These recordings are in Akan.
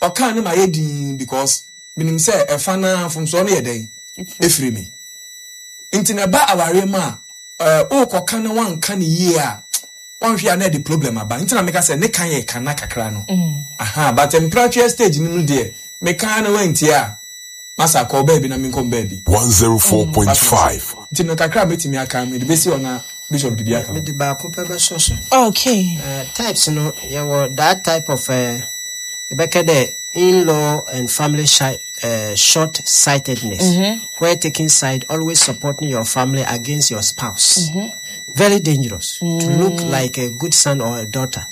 Ɔkaa no mayɛ dinn because menim sɛ ɛfa no ara mfomsoɔ no yɛ dɛn? Ɛfiri me. Nti na ɛba awareɛ mu a, eh, wokɔka na woanka no yie a, woanhwɛ a na ɛde problem aba. Nti na meka sɛ ne ka yɛ kana kakra no. Aha, but mpratweɛ stage no mu deɛ, meka na woantie a, masa kɔ baabi na menkɔ baabi. 104.5. Nti no kakra a mɛtumi aka mede bɛsi hɔ na Bishop de bi aka ho. Mede baako pɛ bɛsɔ so. Okay. Types no, yɛwɔ that type of yɛbɛka dɛ in-law and family shy, short-sightedness, where taking side, always supporting your family against your spouse. Very dangerous to look like a good son or a daughter.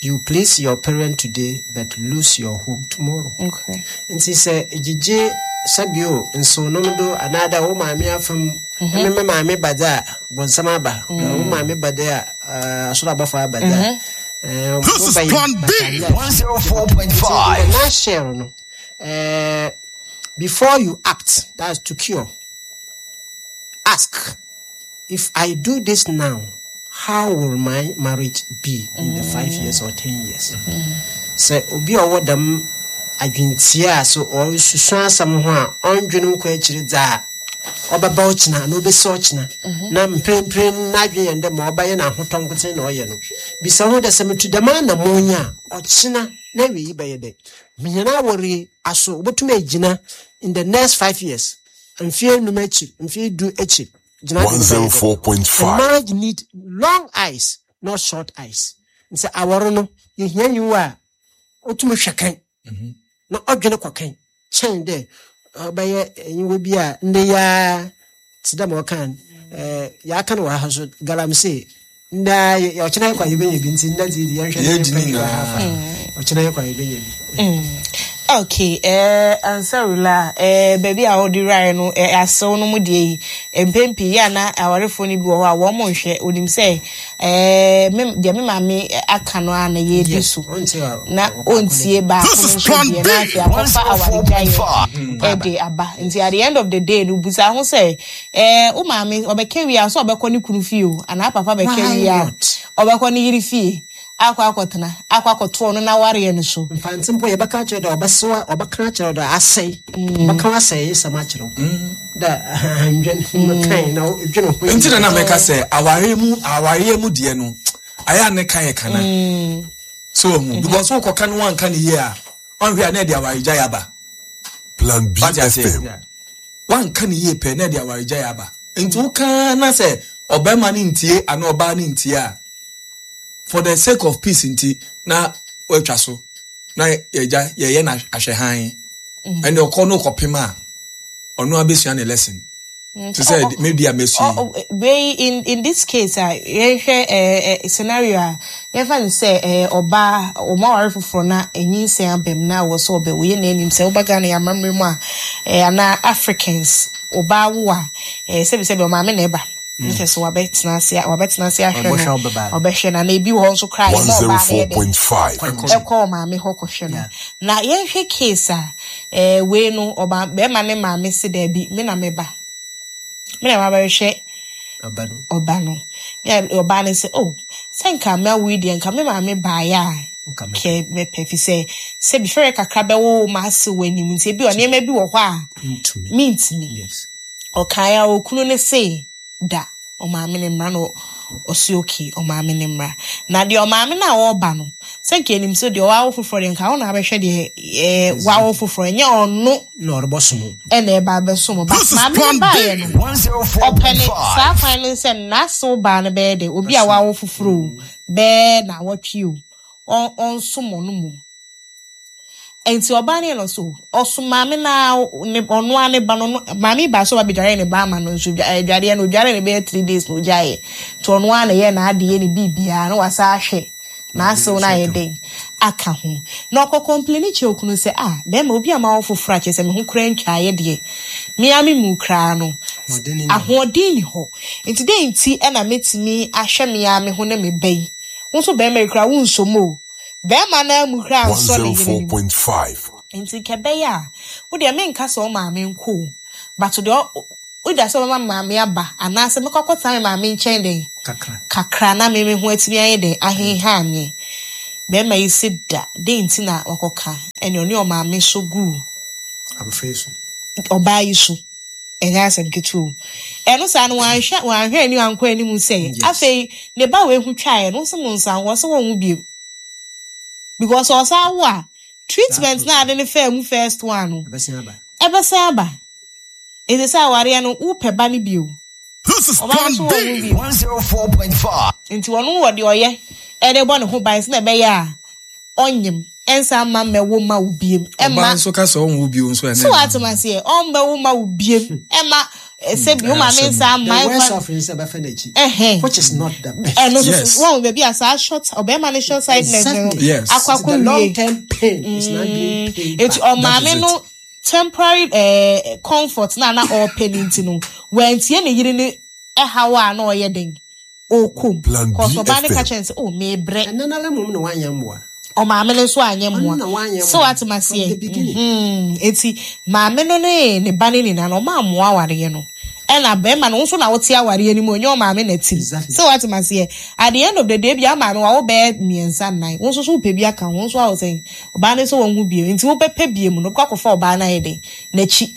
You please your parent today but lose your home tomorrow. Okay. Nti sɛ gyegye sɛbio nsonnom do anaadɛ wo maame afam mm-hmm. me me maame ba dze a bɔnsam aba mm. wo maame ba dze a asoro abɔfo aba dze a mm-hmm. This is Plan B 104.5. Na share no before you act, that's to cure. Ask if I do this now, how will my marriage be in the 5 years or 10 years? Sɛ obi a ɔwɔ dɛm adwentia a so ɔresusu asɛm ho a ɔndwene nkɔ akyiri dza a ɔbɛba ɔkyena anaa ɔbɛsi ɔkyena na mprempren n'adwene yɛn dɛ ma ɔbɛyɛ n'ahotɔ nkotsee na ɔyɛ no, bisa ho dɛ sɛ metu dɛm anammɔn yi a, ɔkyena na awie yi bɛyɛ dɛ menyɛ awɔre aso wobɛtumi agyina in the next 5 years, mfeɛ 5 akyiri, mfeɛ 10 akyiri gyina de bɛyɛ dɛ. 104.5. Marriage need long eyes, not short eyes. Nti awɔre no yɛhia nyiwa a ɔtumi hwɛ kan na ɔdwene kɔ kan kyɛn dɛ ɔbɛyɛ nyiwa bi a ndɛ yaa te dɛ ma ɔka no, yɛaka no wɔ ha so galamsey ndɛ ɔkyena yɛ kɔ a yɛbɛnya bi, nti ndɛ deɛ yɛnhwɛ na Yɛdi yɛmfa ne nyiwa nyinaa. ha fa ɔkyena yɛ kɔ a yɛbɛnya bi. Okay, ansarula, baabi a wɔde wuraeɛ no, asew no mu deɛ yi, mpɛn pii yɛ a na awarefoɔ no bi wɔ hɔ a wɔn nhwɛ, onim sɛ, me, deɛ me maame aka no ara na yɛdi so. Ɔntie a- Na ɔbaako ɔntie baako This no is nso Plan deɛ B na afei akɔfa awaregyaeɛ 104.5. ɛde aba. Nti at the end of the day no, busa ho sɛ, wo maame ɔbɛka wie a sɛ ɔbɛkɔ ne kunu fie o, anaa papa bɛka Why wie a not? ɔbɛkɔ ne yere fie akɔ akɔtena, akɔ akɔto ɔno n'awareɛ no so. Mfantse mpo yɛbɛka akyerɛ dɛ ɔbɛsewa, ɔbɛka akyerɛ dɛ asɛe, ɔbɛka asɛe nsɛm akyerɛ wo dɛ ahandwen kan na dwene ho. Nti na na mɛka sɛ awareɛ mu deɛ no ayɛ a ne ka yɛ kana so ohu because wokɔka no wanka ne yie a, ɔnhwɛ a na ɛde awaregyaeɛ aba. Plan B Wate ase? FM. Wanka ne yie pɛ na ɛde awaregyaeɛ aba. Nti woka na sɛ ɔbɛrima no ntie anaa ɔbaa no ntie a, for the sake of peace nti na watwa so na yɛgya yɛyɛ no ahwɛhan ɛnna ɔkɔ no kɔpem a ɔno abɛsua ne lesson te sɛ maybe a mɛsua yi. Wei in this case a yɛhwɛ scenario a yɛfa no sɛ ɔbaa ɔmo aware foforɔ na nyinsɛn aba mu na wɔ sɛ ɔbɛwo. Yɛ na anim sɛ woba Ghana yɛ amammerɛ mu a, anaa Africans, ɔbaa wo a, sɛbi sɛbi ɔmaame na ɛba nkyɛ sɛ wabɛtena ase ahwɛ Ɔbɛhwɛ no. ɔbɛba no. Ɔbɛhwɛ no na ebi wɔ hɔ nso koraa yɛma ɔbaa no yɛ dɛ 104.5. ɛkɔ ɔmaame hɔ kɔhwɛ no. Na yɛnhwɛ case a wei no ɔba bɛrima ne maame si daabi, me na meba, me na mabɛhwɛ ɔba no. Ɔba no na ɔbaa no sɛ, oh, sɛ nka mawo yi deɛ nka me maame baeɛ a nka mɛpɛ. Kɛ mɛpɛ fi sɛ sɛbi fɛrɛ kakra bɛwɔ wo ma ase wɔ anim nti ebi wɔ nneɛma bi wɔ hɔ a ntumi. Mentumi. Ɔkae a okunu ne se da ɔmaame ne mmra no, ɔsi okay, ɔmaame ne mmra. Na deɛ ɔmaame no a ɔreba no sɛ nka enim sɛ deɛ ɔwawo foforɔ deɛ nka ɔna abɛhwɛ deɛ wawo foforɔ, ɛnyɛ ɔno na ɔrebɔ som. Ɛna ɛba abɛsom ba. This is maame no Plan B baeɛ no ɔpɛ ne 104.5. saa kwan no sɛ n'asew baa no bɛyɛ dɛ obi a wawo foforɔ o bɛɛ na awɔtwe o ɔnsom ɔno mu. Nti ɔbaa no yɛ no so ɔsom maame na ne ɔno ara ne ba no maame ba so ɔba bɛdware ne ba ama no nso dwareɛ no odware ne bɛyɛ 3 days na ogyaeɛ. Nti ɔno ara na ɛyɛ n'adeɛ ne biribiara na wasa ahwɛ n'asew no ayɛ den aka ho na ɔkɔ complain kyerɛ okunu sɛ, ah, bɛrima obi a ma wo foforɔ akyerɛ sɛ me ho kora ntwaeɛ deɛ mea me mu koraa no ahoɔden ni hɔ. Ahoɔden ni hɔ nti dɛn nti ɛna mɛtumi ahwɛ me ara me ho ne me ba yi? Wo nso bɛrima yi koraa wonsom o, bɛrima no amu koraa nsɔ ne yere no mu. 104.5. Nti nkɛ bɛyɛ a wodeɛ menka sɛ wo maame nkɔ o, but deɛ woda sɛ wobɛma maame aba anaasɛ mɛkɔ akɔtena me maame nkyɛn dɛn kakra kakra na me me ho atumi ayɛ dɛn ahenha me. Bɛrima yi se da, dɛn nti na wakɔka? Ɛne ɔne ɔmaame so guu Abɔfra yi so. ɔbaa yi so. Ɛnyɛ asɛm ketewa o. Ɛno saa no wanhwɛ anim ankɔ anim sɛ afei ne ba wei ho twaeɛ no, wo se mo nsa ho, ɔse wɔnwo bio. Because ɔsan wo a, treatment na ade ne faa mu first one no, Ɛbɛsan aba. ɛbɛsan aba. Ɛsɛ sɛ awareɛ no, wopɛ ba no bio. This is Ɔbaa no Plan nso wɔnwo B. bio. 104.5. Nti ɔno wɔ deɛ ɔyɛ ɛde bɔ ne ho ban sɛ na ɛbɛyɛ a ɔnyem ɛnsa mma mmɛwo ma wo biem. Ɔbaa Ɛmma nso ka sɛ ɔnwo bio nso ɛnɛ. so atem aseɛ ɔmbɛwo ma wo biem. Ɛmma sɛ bi wo maame nsa The mma worst ɛmfa of it is ɛbɛfa n'akyi. ɛhɛn. Which is not the best. Ɛno nso Yes. so wɔn baabi a saa short ɔbɛrima ne short sightedness no Exactly. Yes. akɔ The akɔ wie. long term pain is not being paid Eti back. That is ɔmaame it. no temporary comfort na na ɔpɛ ne nti no wɔntie ne yere ne ɛhaw a na ɔyɛ den ɔkɔm. Plan Kɔsɔ ɔbaa no ka BFM. kyerɛ no sɛ oh mebrɛ. Ɛno nara mmom na wanyɛ mmoa. Ɔmaame no nso anyɛ Ɔno mmoa. na wanyɛ So mmoa. ate From the aseɛ. beginning. Eti maame no ne ba no nyinaa no ɔmo ammoa awareɛ no. Ɛna bɛrima no nso na wote awareɛ no mu onye ɔmaame na ti. Exactly. So ate aseɛ. At the end of the day bi amaame wawo bɛyɛ mmiɛnsa nnan. Wo nso so wopɛ bi aka ho. Wo nso awo sɛn. Ɔbaa no nso wɔn ho bio. Nti wobɛpɛ bie mu no wobɛkɔ akɔfa ɔbaa no ayɛ den n'akyi.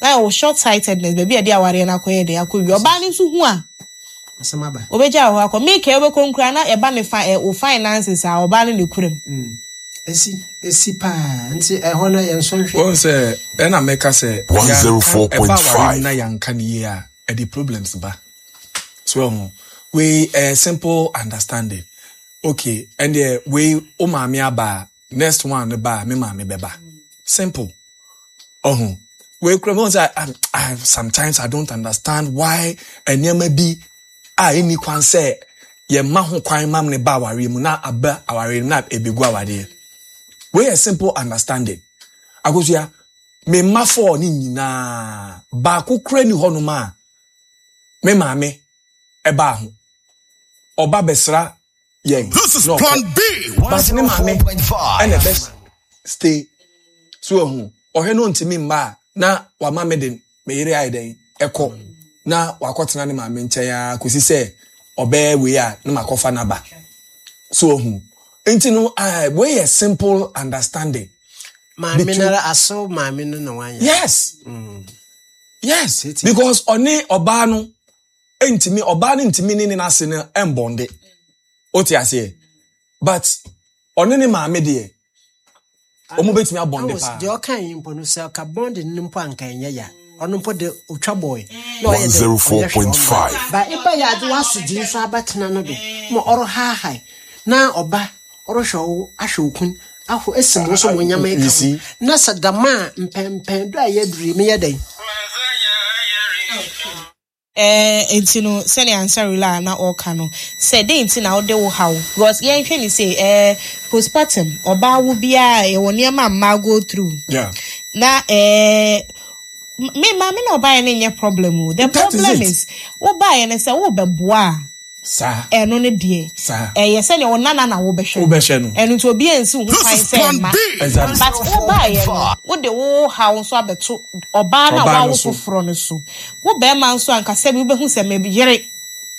Na ɛwɔ short sightedness baabi a yɛde awareɛ no akɔyɛ den akɔ wie. Ɔbaa no nso hu a Asɛm aba. obɛgya wɔ hɔ akɔ. Mika wobɛkɔ nkura na ɛba ne fa wo finances a ɔbaa no na ekura mu. Esi paa nti ɛhɔ no yɛn nso nhwɛ. Wɔn sɛ ɛna mɛka sɛ 104.5. ɛba awareɛ mu na yɛnka ne yie a ɛde problems ba. So ɛho wei ɛyɛ simple understanding. Okay, ɛndeɛ wei wo maame aba a next one no ba a me maame bɛba. Simple. Ɔho wei kura mo sɛ I sometimes I don't understand why nneɛma bi a ɛnni kwan sɛ yɛma ho kwan ma ne ba awareɛ mu na aba awareɛ mu na ebegu awareɛ. Wei yɛ simple understanding. Akosua, me mma four ne nyinaa baako kura ni hɔnom a me maame ɛbaa ho. Ɔba bɛsra yɛn. This is na ɔkɔ. Plan B. But ne maame 104.5. ɛna ɛbɛ stay. So ɛho ɔhwɛ no ntumi mma a na wama me de me yere ayɛ dɛn ɛkɔ na wakɔtena ne maame nkyɛn a kòsi sɛ ɔbɛyɛ wei a na makɔfa n'aba. So ɛho nti no wei yɛ simple understanding. Maame Between- nara asew maame no na wanyɛ. Yes. Yes. Tete. Because ɔne ɔbaa no ntumi ɔbaa no ntumi ne ne n'ase no mbɔnde. O te aseɛ. But ɔne ne maame deɛ ɔmo betumi abɔnde Awos, paa. deɛ ɔka yi mpo no sɛ ɔka bɔnde no mpo anka ɛnyɛ ya. Ɔno mpo de otwa bɔɔl. Na ɔyɛ dɛ, ɔyɛ hwee ɔmma. 104.5. Ba eba yɛ ade w'asodie nso abɛtena no do ma ɔrehahae na ɔba ɔrehwɛ wo ahwɛ wo kun ahɔ esi mo nso mo nyama You eka ho see? na sɛ dama a mpɛmpɛn do a yɛaduru yi meyɛ dɛn. Nti no sɛnea ansarela a na ɔka no sɛ dɛn nti na wode wo haw because yɛnhwɛ ne sɛ postpartum ɔbaa wo biara yɛwɔ nneɛma a mmaa go through. Yeah. Na me maame na ɔbaeɛ no nyɛ problem o. The That is problem it. is wobaeɛ no sɛ wobɛboa a Saa. ɛno ne deɛ. Saa. Ɛyɛ sɛnea wo nana na wobɛhwɛ no. Wobɛhwɛ no. Ɛno nti obi ansi wo ho This kwan is sɛ Plan mma. B. Exactly. But wobaeɛ no wode wo haw nso abɛto ɔbaa no a Ɔbaa no wawo so. foforɔ no so. Wo bɛrima nso ankasa bi wobɛhu sɛ me yere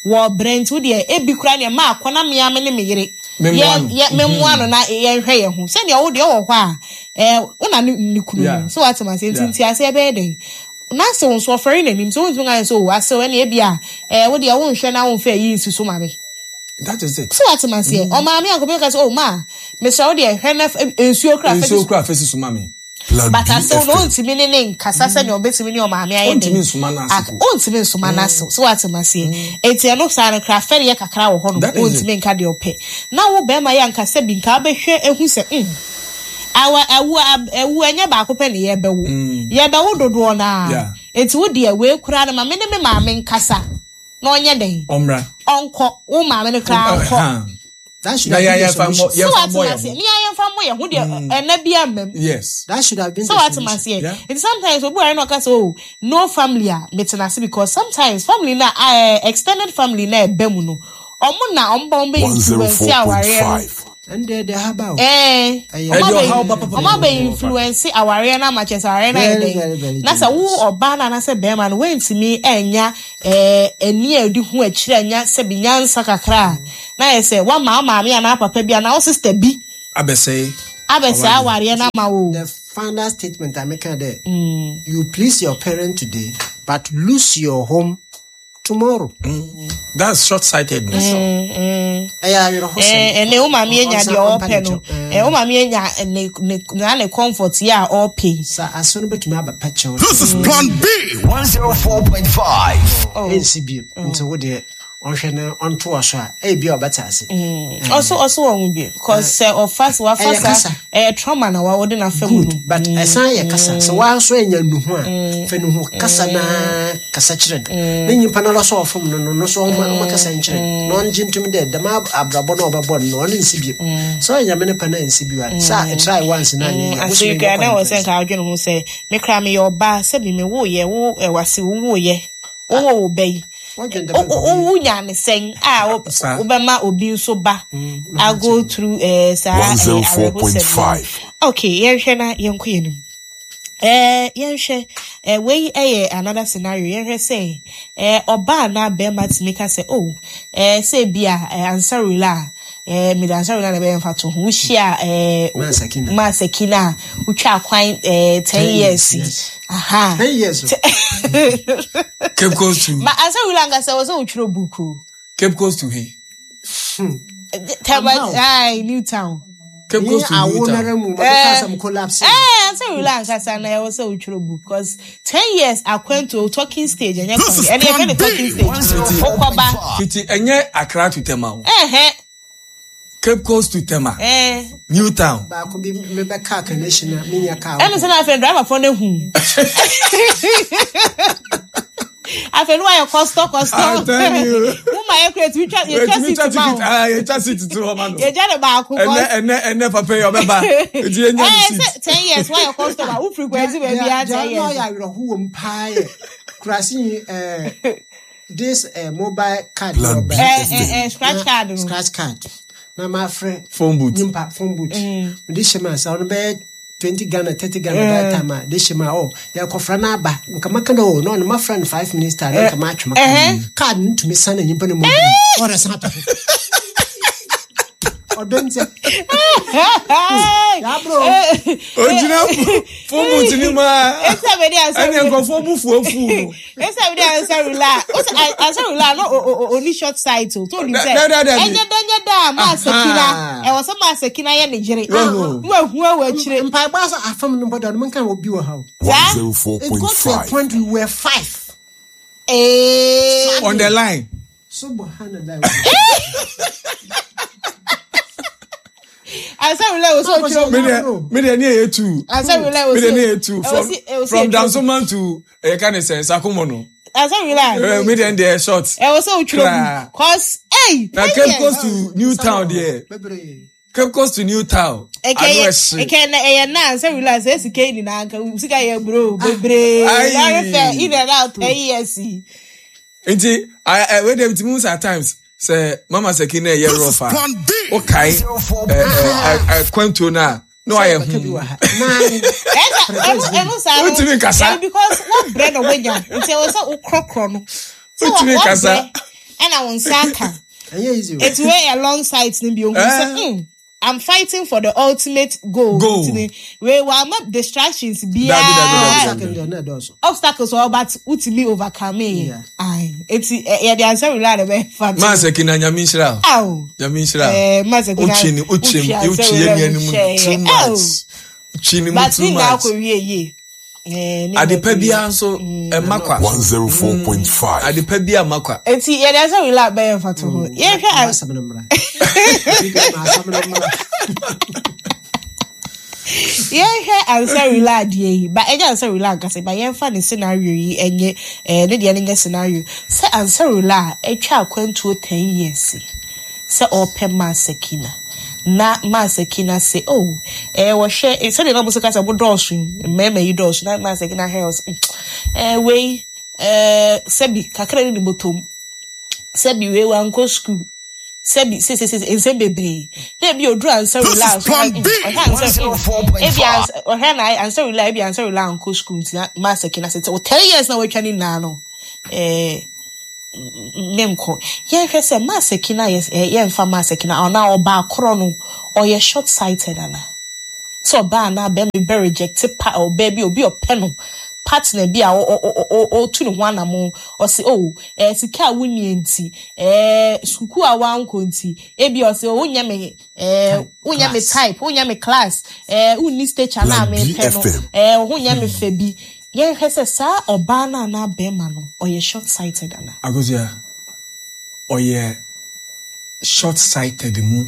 wɔ brɛ nti wodeɛ ebi koraa neɛ maa akɔ na mea me ne me yere. Memmoa no. Memmoa no na yɛnhwɛ yɛn ho. Sɛnea wo deɛ wɔ hɔ a wo na ne kunu no. Yeah. So what am I saying? Yeah. Nti aseɛ bɛyɛ dɛn? Na sɛ wo nso ɔfɛre n'anim sɛ wontumi nka sɛ o asew ɛne ebi a wo deɛ wonhwɛ na womfa ayi nsi so ma me. That is it. So what am I saying? Ɔmaame akɔbɛ ka sɛ o ma mesrɛ wo deɛ hwɛ na nsuo kora fɛ Nsuo kora fɛ si so ma me. Plan But asew no BFM. ontumi ne ne nkasa sɛnea ɔbɛtumi ne ɔmaame ayɛ den. Ontumi nsoma n'ase po. Ontumi nsoma n'ase. So what am I saying? Enti ɛno saa no kora fɛre yɛ kakra wɔ hɔ no. That is it. Ontumi nka deɛ ɔpɛ. Na wo bɛrima yɛ ankasa bi nka wobɛhwɛ ehu sɛ awa awu awu ɛnyɛ baako pɛ ne yɛbɛwo. Yɛbɛwo dodoɔ naa. Yeah. Enti wo deɛ wei kora no ma me ne me maame nkasa. Na ɔnyɛ den. Ɔmmra. Ɔnkɔ. Wo maame no kora nkɔ. That should Na have been yɛ the yɛmfa mmɔ solution. So yɛmfa what mmɔ am I yɛn saying? ho. Ni yɛmfa mmɔ yɛn ho deɛ ɛnɛ bi amam. Yes. That should have been So the what am I solution. saying? Yeah. And sometimes we are not say oh no family a metena ase because sometimes family na extended family na ebe mu no. Omo na omo ba omo be influence aware no. 104.5. And they have out. Omo Ɛde be ɔhaw ba papa omo be papa. influence aware na ma chese aware na Very, e very, very den. Na sɛ wo dangerous. ɔbaa na na sɛ bɛrima no wentimi enya ani a odi ho akyire anya sɛ bi nyansa kakra a, Na yɛ sɛ woama wo maame anaa papa bi anaa wo sister bi Abɛsɛe abɛsɛe awareɛ no ama wo. The final statement a meka dɛ, you please your parent today but lose your home tomorrow. That's short sightedness. Ɛyɛ awerɛhosɛm. Ɛnɛ wo maame anya deɛ ɔpɛ no. Wo maame anya ne ne na ne comfort yɛ a ɔpɛ yi. Sa aso no bɛtumi abɛpa kyɛw. This is Plan B 104.5. Ɛnsi bio. Nti wo deɛ ɔnhwɛ na ɔntoa so a, ebi a ɔbɛte ase. Ɔso ɔso wɔn ho bi cause sɛ ɔfa sɛ wafa Ɛyɛ saa kasa. ɛyɛ trauma na wa wɔde n'afa mu no. Good, but ɛsan yɛ kasa. Sɛ waa nso anya nnuhu a, fa nuhu kasa na kasa kyerɛ no. Na nyimpa no ara so a ɔfom no no, no so ɔma ɔma kasa nkyerɛ no. Na ɔngye ntom dɛ dɛm abrabɔ no a ɔbɛbɔ no no, ɔno nsi bio. Sɛ ɔyɛ Nyame ne pɛ na nsi bio a, sɛ a try once na anyɛ yie a, Afei wosome koraa bɔkɔ na ne wɔ sɛ pɛn. nka adwene ho sɛ me koraa meyɛ ɔbaa sɛbi me woyɛ wo ɛwase wo woyɛ wowɔ wo ba yi Wɔdwen dɛm nkɔmmɔ yi. wonya ne sɛn a Saa. wobɛma obi nso ba a go through saa awerɛhosɛm no. 104.5. Okay, yɛnhwɛ na yɛnkɔ yɛn anim. Yɛnhwɛ wei yɛ another scenario. Yɛnhwɛ sɛ ɔbaa anaa bɛrima tumi ka sɛ oh sɛ bi a ansarula a mede ansarula na ɛbɛyɛ mfa to ho. Wohyia Maasakina. Maasakina a wotwa kwan 10 years yi. Yes. Aha. 10 years. Cape Coast to Ma ansarula ankasa wɔ sɛ wotwerɛ book o. Cape Coast to he? Tama, Ampa o. ai, New Town. Cape Nye Coast to awo New nara Town. mu, mabɛka asɛm collapse. Ansarula ankasa na ɛwɔ sɛ wotwerɛ book because 10 years akwantuo talking stage ɛnyɛ This is kwan. Ɛne yɛfrɛ Plan no B talking stage. Wokɔba. 104.5. Fiti ɛnyɛ Accra to Tema o. Ɛhɛ. Cape Coast to Tema. New Town. Baako bi mebɛka connection a menya kaa. Ɛne sɛ na afei driverfoɔ no ahu. Afei no wayɛ kɔstɔ kɔstɔ. I tell you. Mo ma yɛ kura etumi twa yɛtwa Yɛtumi twa seat ma ticket. wo. Ah, yɛtwa seat to hɔ ma no. Yɛgya ne baako Ɛnɛ ɛnɛ ɛnɛ papa yi ɔbɛba. Nti yɛnya ne Ɛɛ seat. sɛ 10 years wayɛ customer wo frequency baabi a 10 Deɛ years. ɔyɛ awerɛho wɔ mu paa yɛ kurase yi this mobile card Plan na B. ɔba. Scratch Na- card no. Scratch card. Na mafrɛ Phone booth. nyimpa phone booth. Mede hyɛ mu a sɛ ɔno bɛyɛ 20 Ghana 30 Ghana that time a de hyɛ mu a oh yɛkɔfra no aba nka maka no o na ɔno mafrɛ no 5 minutes time na nka matwe ma card no tumi sa na nyimpa no mu ɔrɛ san atɔ ɔdɔ nti yɛabrɛ o. Ogyina phone booth ni mu a. Esa bɛ di ansa. Ɛne nkurɔfoɔ bu fuo fu no. Esa bɛ di ansarula. Ose ansarula no o oni short sight o. To ni sɛ. Da- da- da- da- Ɛnyɛ dɛ nyɛ dɛ a maa sakina. Ɛwɔ sɛ maa sakina yɛ ne yere. Wahu. Wahu awɔ akyire. mpaebɔ asɛ afam no mbɔdɔ no menka wɔ bi wɔ ha o it got to a 104.5. point we were five Ee. On the line. subhanallah Ansarula wɔ sɛ otwerɛ Me deɛ me deɛ ne yɛ two. Ansarula wɔ Me deɛ ne sɛ yɛ two. From Dansoman to ɛyɛ ne sɛ Sakumo no. Ansarula. Me deɛ deɛ short. Ɛwɔ sɛ otwerɛ Kraa. book. Cause ɛy. Na Cape Coast to New Town deɛ. bebree Cape Coast to New Town. Ano ɛhye. Ɛkɛ na ɛyɛ na ansarula sɛ sika yi nyinaa nka sika yɛ bro bebree. Aye. Lɔre fɛ in and out 10 years yi. Nti wei deɛ nti mu sɛ at times sɛ mama sɛki na ɛyɛ This is rough a Plan B. wokae kwantuo no a na wayɛ bɛka bi hmm. wɔ ha nine Ɛna ɛno ɛno saa no. Wontumi nkasa. Ɛno because wɔbrɛ na wɔnya nti ɛwɔ sɛ wokorɔkorɔ no. Sɛ Wontumi nkasa. wɔbrɛ ɛna wo nsa aka. ɛnyɛ easy o Eti wei yɛ long sight no bi ohun sɛ I'm fighting for the ultimate goal. Goal. Nti ne wei wama distractions Dabi, dabi, dabi. biara. second deɛ na ɛdɔɔso Obstacles wɔ hɔ but wotumi overcome yɛ. Yeah. Aye. Eti yɛde ansa wura na bɛfa. Maa sɛki na nyame nhyira wo. Aw. Nyame nhyira wo. Maa sɛki na Wotwi ne wotwi wotwi ansa wotwi wura yɛ mu nuanom hyɛ too yɛ. much. Aw. Wotwi ne mu But too ne nyinaa much. kɔ wie yie. Ne nyinaa Adepa kɔ wie. biara nso ɛma kwa. 104.5. Adepa biara ma kwa. Eti yɛde ansa wura bɛyɛ mfa to ho. Yɛhwɛ Ma asɛm no mmra Ma asɛm no mmra yɛhwɛ ansarula adeɛ yi ba ɛnyɛ ansarula ankasa ba yɛmfa ne scenario yi ɛnyɛ ne deɛ no nyɛ scenario sɛ ansarula a atwa akwantuo 10 years yi sɛ ɔrepɛ maasakina na maasakina sɛ oh wɔhwɛ sɛdeɛ na mo sɛ kasa mo dɔɔso yi mmarima yi dɔɔso na maasakina hwɛ ɔsɛ wei sɛbi kakra ne ne bɔtɔm sɛbi wei wankɔ school sɛbi sesesese nsɛm bebree na ebi oduru ansarula This is Plan B. ɔhwɛ ansa ebi 104.5. ansa ɔhwɛ na ansarula ebi ansarula ankɔ school nti na maasakina sɛ o 10 years na watwa ne nyinaa no menkɔ. Yɛnhwɛ sɛ Masaki no a yɛmfa Masaki no anaa ɔbaa korɔ no, ɔyɛ short sighted anaa? Sɛ ɔbaa anaa bɛrima bi bɛ reject pa ɔbaa bi obi ɔpɛ no partner bi a ɔtu ne ho anamon ɔse oh ɛɛ sika a wonni nti ɛɛ sukuu a wankɔ nti ebi ɔse oh wonyɛ me ɛɛ wonyɛ me type wonyɛ me class ɛɛ wonni stature na mepɛ no ɛɛ wo ho nyɛ me fɛ bi. Yɛnhwɛ sɛ saa ɔbaa no anaa bɛrima no ɔyɛ short sighted anaa. Akosua, ɔyɛ short sighted mu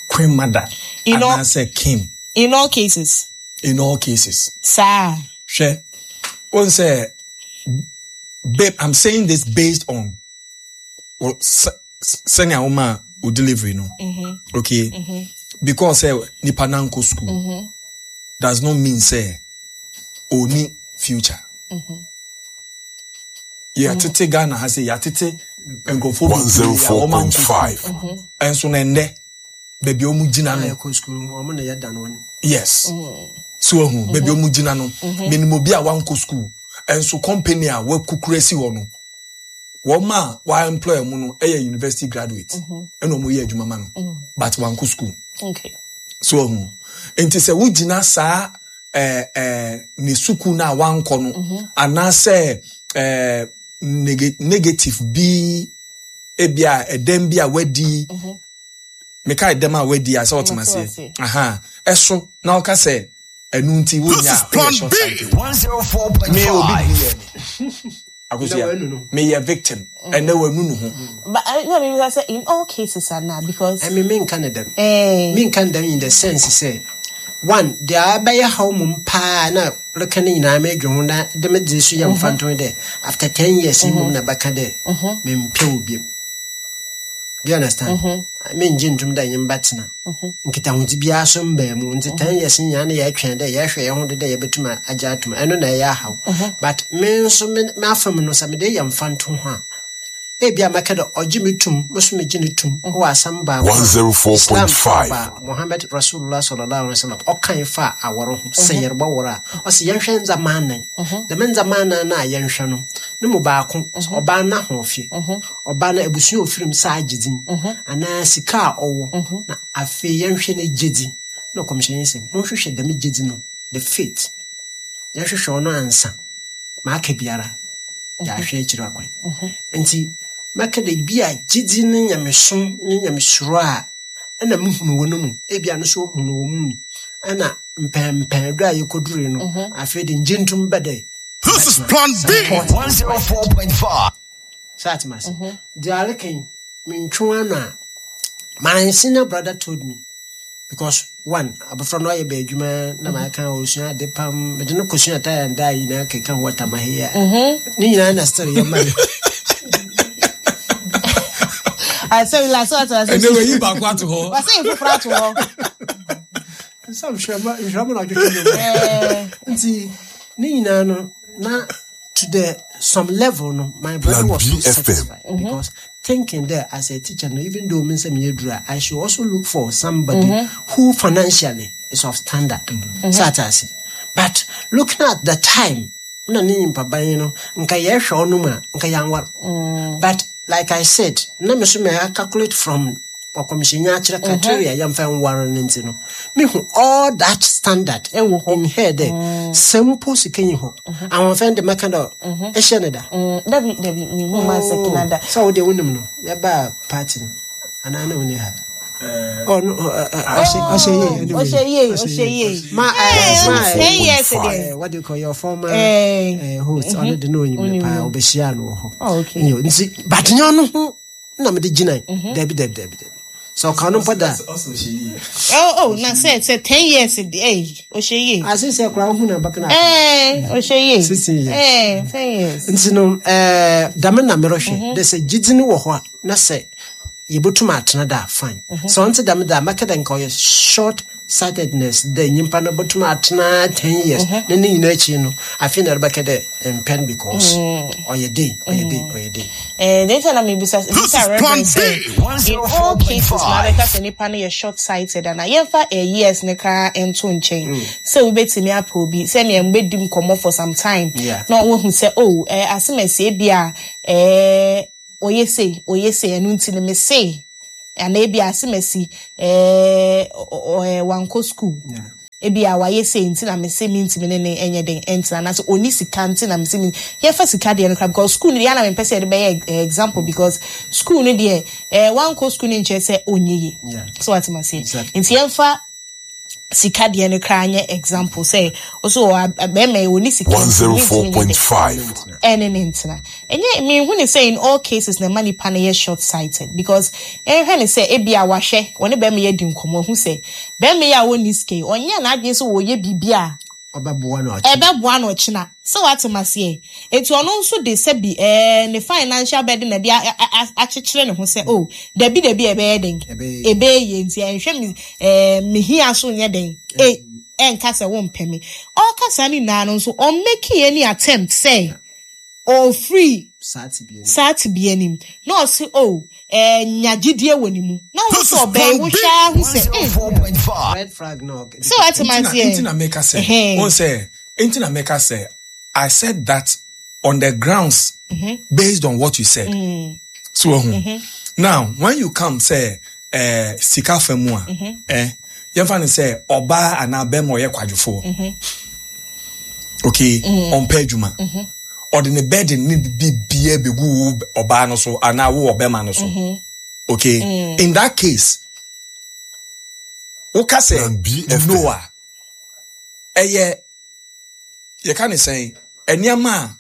queen mother anaasɛ king. In all cases. In all cases. Saa. Hwɛ, wɔn sɛ, babe, I'm saying this based on sɛnea woma o delivery no. Mm-hmm. Okay. Mm-hmm. Because sɛ nipa nankɔ school mm-hmm. does not mean sɛ oni future. Mm-hmm. Yɛatete Ghana ha sɛ yɛatete nkurɔfoɔ bebree a wɔn ankɔ school. Ɛnso na ɛnnɛ baabi a wɔn gyina no. Yes. So ahu baabi a wɔn gyina no. Menim obi a wankɔ school. Ɛnso company a wakukura si hɔ no. Wɔn a wa employ wɔn no yɛ university graduate ɛna wɔn yɛ adwuma ma no but wankɔ school. So ahu nti sɛ wogyina saa ɛɛ ɛɛ ne sukuu no a wankɔ no anaasɛ ɛɛ negative bi ebi a ɛdɛm bi a wadi meka ɛdɛm a wadi a sɛ ɔtema aseɛ aha ɛso na ɔka sɛ ɛnu nti wonya woyɛ short sighted me obi bi yɛ me Akosua meyɛ victim ɛnɛ wanu ne ho. But I know maybe I say in all cases are not because. I mean, me nka ne dɛm. Eh. Me nka ne dɛm in the sense sɛ one deɛ abɛyɛ haw mom paa na reka ne nyinaa medwe ho na de me dze so yɛ mfa nto dɛ after 10 years mmom na bɛka dɛ mempɛ wo biom. Do you understand? Mengye ntom dɛ nye mbɛtsena. Nkitahodzi biara so mmbaa mu. Ntsi 10 years nyinaa na yɛtwɛn dɛ yɛhwɛ hɛn ho do dɛ yɛbɛtum agye atom. Ɛno na ɛyɛ ahaw. But me nso me m'afamu no sɛ mede yɛ mfanto ho a, ebia mɛka dɛ ɔgye me tum, mo so megye no tum wɔ asɛm baako a Islam aba Muhammad Rasulullah sallallahu alaihi wasallam ɔkae fa awar ho sɛ yɛrebɔwar a, ɔse yɛnhwɛ ndzɛmba anan. Dɛm ndzɛmba anan no a yɛnhwɛ no, no mu baako, ɔbaa n'ahoɔfɛ. Ɔbaa no abusua a ofir mu saa gye dzin anaa sika a ɔwɔ na afei yɛnhwɛ ne gyedzi. Na ɔkɔmhyɛnyi se, Monhwehwɛ dɛm gyedzi no, the faith, yɛnhwehwɛ ɔno ansa ma aka biara yɛahwɛ ekyir akwan. Ntsi mɛka dɛ bi a gyedzi ne nyamesom ne nyamesuro a nna muhu no wɔ no mu, ebia no so ohu no wɔ mo mu, nna mpɛnpɛn do a yekodurii no, afei de ngye ntom bɛ dɛ This is Plan B. 104.5. So at my the aleken mentwe ano a my senior brother told me because one abɔfra no ayɛ bɛ adwuma na ma aka osua ade pam mede no kɔsua tire and dye nyinaa keka ho atamahe a ne nyinaa na still yɛ ma no. Asɛm la so ato ase. Ɛnɛ wɔyi baako ato hɔ. Wɔsɛ yi foforɔ ato hɔ. Sɛ nhwɛ ma na ɔtwetwe no nti ne nyinaa no na to the some level no my brother was so satisfied because thinking that as a teacher no even though me nsɛm yɛ duru I should also look for somebody who financially is of standard. Sɛ ate ase but looking at the time na ne nyimpa ban no nka yɛhwɛ ɔno mu a nka yɛanwar but like I said na me so me calculate from ɔkɔmhyɛnyi akyerɛ criteria yɛmfa nware no nti no mehu all that standard ɛwɔ hɔ in her dɛ sɛ mpo sika nyi hɔ ahoɔfɛn de mɛka dɛ ɛhyɛ ne da. Dabi dabi mehu ma sɛ kina da. Sɛ wo deɛ wonim no yɛbaa party no anaa na woni ha. Ɔhyɛ yie. Ɔhyɛ yie ɔhyɛ yie. Ma ma 10 years deɛ. What do you call your former host ɔno de no onyim no paa ɔbɛhyia no wɔ hɔ. Nti but nyɛ ɔno ho na mede gyina dabi dabi dabi dabi sɛ ɔka no mpo da. Oh na sɛ 10 years de ɛy ɔhyɛ yie. Ase sɛ koraa wohu na bɛka na. Ɔhyɛ yie. 16 years. 10 years. Nti no dame na merehwɛ dɛ sɛ gyidzi no wɔ hɔ a na sɛ yɛbɛtum atena da fine. Sɛ ɔnte dame da a mɛka dɛ nka ɔyɛ short. Sightedness dɛ nyimpa no botum atsena 10 years na ne nyinaa ekyir no, afei na ɛrebɛka dɛ mpɛn because ɔyɛ dei, ɔyɛ dei, ɔyɛ dei. The nti na mebisa This bisa is Plan Reverend B sɛ in all cases na 104.5. abɛka sɛ nipa no yɛ short sighted ana yɛmfa years ne koraa nto nkyɛn sɛ wobɛtumi apɛ obi sɛnea mbɛdi nkɔmmɔ for some time na wohu sɛ, oh, asɛm asie bi a ɔyɛ sei, ɔyɛ sei, ɛno nti no me sei anaa ebi asɛm asi wankɔ school, ebi a wayɛ sei nti na mese mentumi ne ne ɛnyɛ den ɛntena, anaasɛ ɔni sika nti na mese me yɛmfa sika deɛ no kora, because school no deɛ ana mempɛ sɛ yɛde bɛyɛ example, because school no deɛ wankɔ school no nkyerɛ sɛ ɔnyɛ yie. So wate ma seɛ? Nti yɛmfa sika deɛ no koraa nyɛ example sɛ ɔso wɔ bɛrima yi ɔni sika nti mentumi nyɛ den 104.5. Ɛne ne ntena. Ɛnyɛ mehu ne sɛ in all cases na ɛma nipa no yɛ short sighted, because ɛnhwɛ ne sɛ ebi a wahwɛ wɔne bɛrima yi adi nkɔmmɔ, ɔhu sɛ bɛrima yi a wɔnni sika yi, ɔnyɛ n'adwene sɛ wɔyɛ biribi a ɔbɛboa no ɔkyena. Ɛbɛboa no ɔkyena sɛ wate ma seɛ. Eti ɔno nso de sɛbi ne financial burden na de akyekyere ne ho sɛ, oh, dabi dabi, ɛbɛyɛ den. Ɛbɛyɛ. Ɛbɛyɛ yie, nti ɛnhwɛ me mehia so nyɛ den ɛnka sɛ wompɛ me. Ɔka saa ne nyinaa no nso, ɔmmake any attempt sɛ ɔfiri saa tebea no. Saa tebea nim na ɔse, oh, nya gyidie wɔ ne mu na wo This sɛ is ɔbɛn Plan B wohwɛ ara ho sɛ 104.5. Red flag na ɔkɛ. Sɛ wate ma Nti na aseɛ. nti na meka sɛ wɔn sɛ nti na meka sɛ I said that on the grounds based on what you said. So now when you come say sika fa mu a, yɛmfa no sɛ ɔbaa anaa bɛrima ɔyɛ kwadwofoɔ, okay, ɔmpɛ adwuma, ɔde ne burden ne biribiara bɛgu wo ɔbaa no so anaa wo ɔbɛrima no so, okay, in that case woka sɛ Plan B FM. no a ɛyɛ yɛka ne sɛn, nneɛma a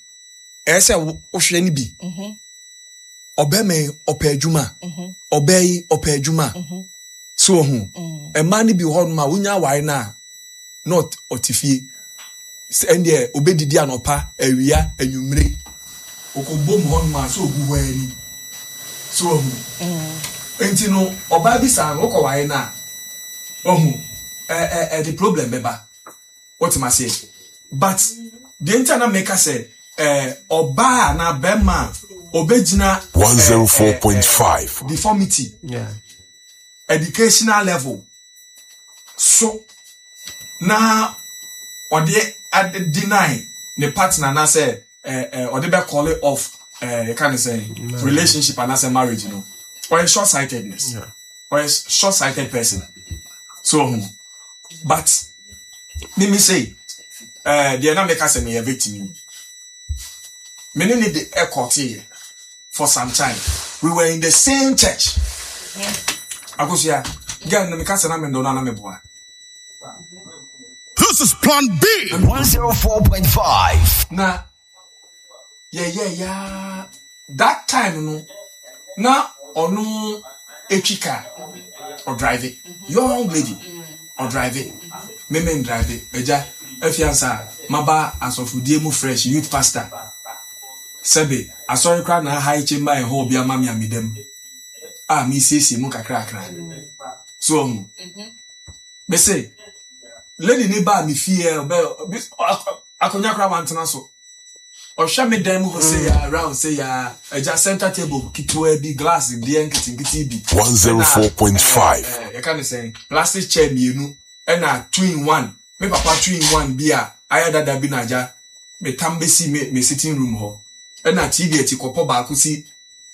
ɛyɛ sɛ wohwɛ no bi, ɔbɛrima yi ɔpɛ adwuma, ɔbaa yi ɔpɛ adwuma so ɔho mmaa no bi wɔ hɔnom a wonya aware no a na ɔte fie sɛ ɛndeɛ obɛdidi anɔpa, awia, anwummere, ɔkɔbom hɔnom a sɛ ɔgu hɔ ani so ɔho. Nti no ɔbaa bi saa no wokɔware no a ɔho ɛ ɛ ɛde problem bɛba. Wotem aseɛ? But deɛ nti a na meka sɛ ɔbaa anaa bɛrima a ɔbɛgyina 104.5. deformity, educational level so na ɔde deny ne partner anaasɛ ɔde bɛ call it off, yɛka ne sɛ relationship anaasɛ marriage no, ɔyɛ short sightedness, ɔyɛ short sighted person so ɔho. But mimi sei deɛ na meka sɛ meyɛ victim yi, me ne ne de ɛkɔteeɛ for some time. We were in the same church. Akosua, girl no, meka sɛ na mendɔ no ana meboa? This is Plan B 104.5. Na yɛyɛ ya that time no na ɔno etwi car, ɔdrive, young lady ɔdrive, meme ndrive. Agya afiansa maba asɔfodie mu fresh, youth pastor, sɛbe asɔre koraa na aha chamber and hall bi ama me a medam a mesiesie mu kakrakra so ɔho. Mese lady ne baa me fie, ɔbɛ akonnwa koraa wantena so. Ɔhwɛ me dan mu hɔ sɛ ya round sɛ ya agya center table ketewa bi, glass deɛ nketenkete bi, 104.5. Yɛka ne sɛn, plastic chair mmienu ɛna two in one, me papa two in one bi a ayɛ dada bi na agya metam bɛsi me sitting room hɔ, ɛna TV akyi kɔpɔ baako si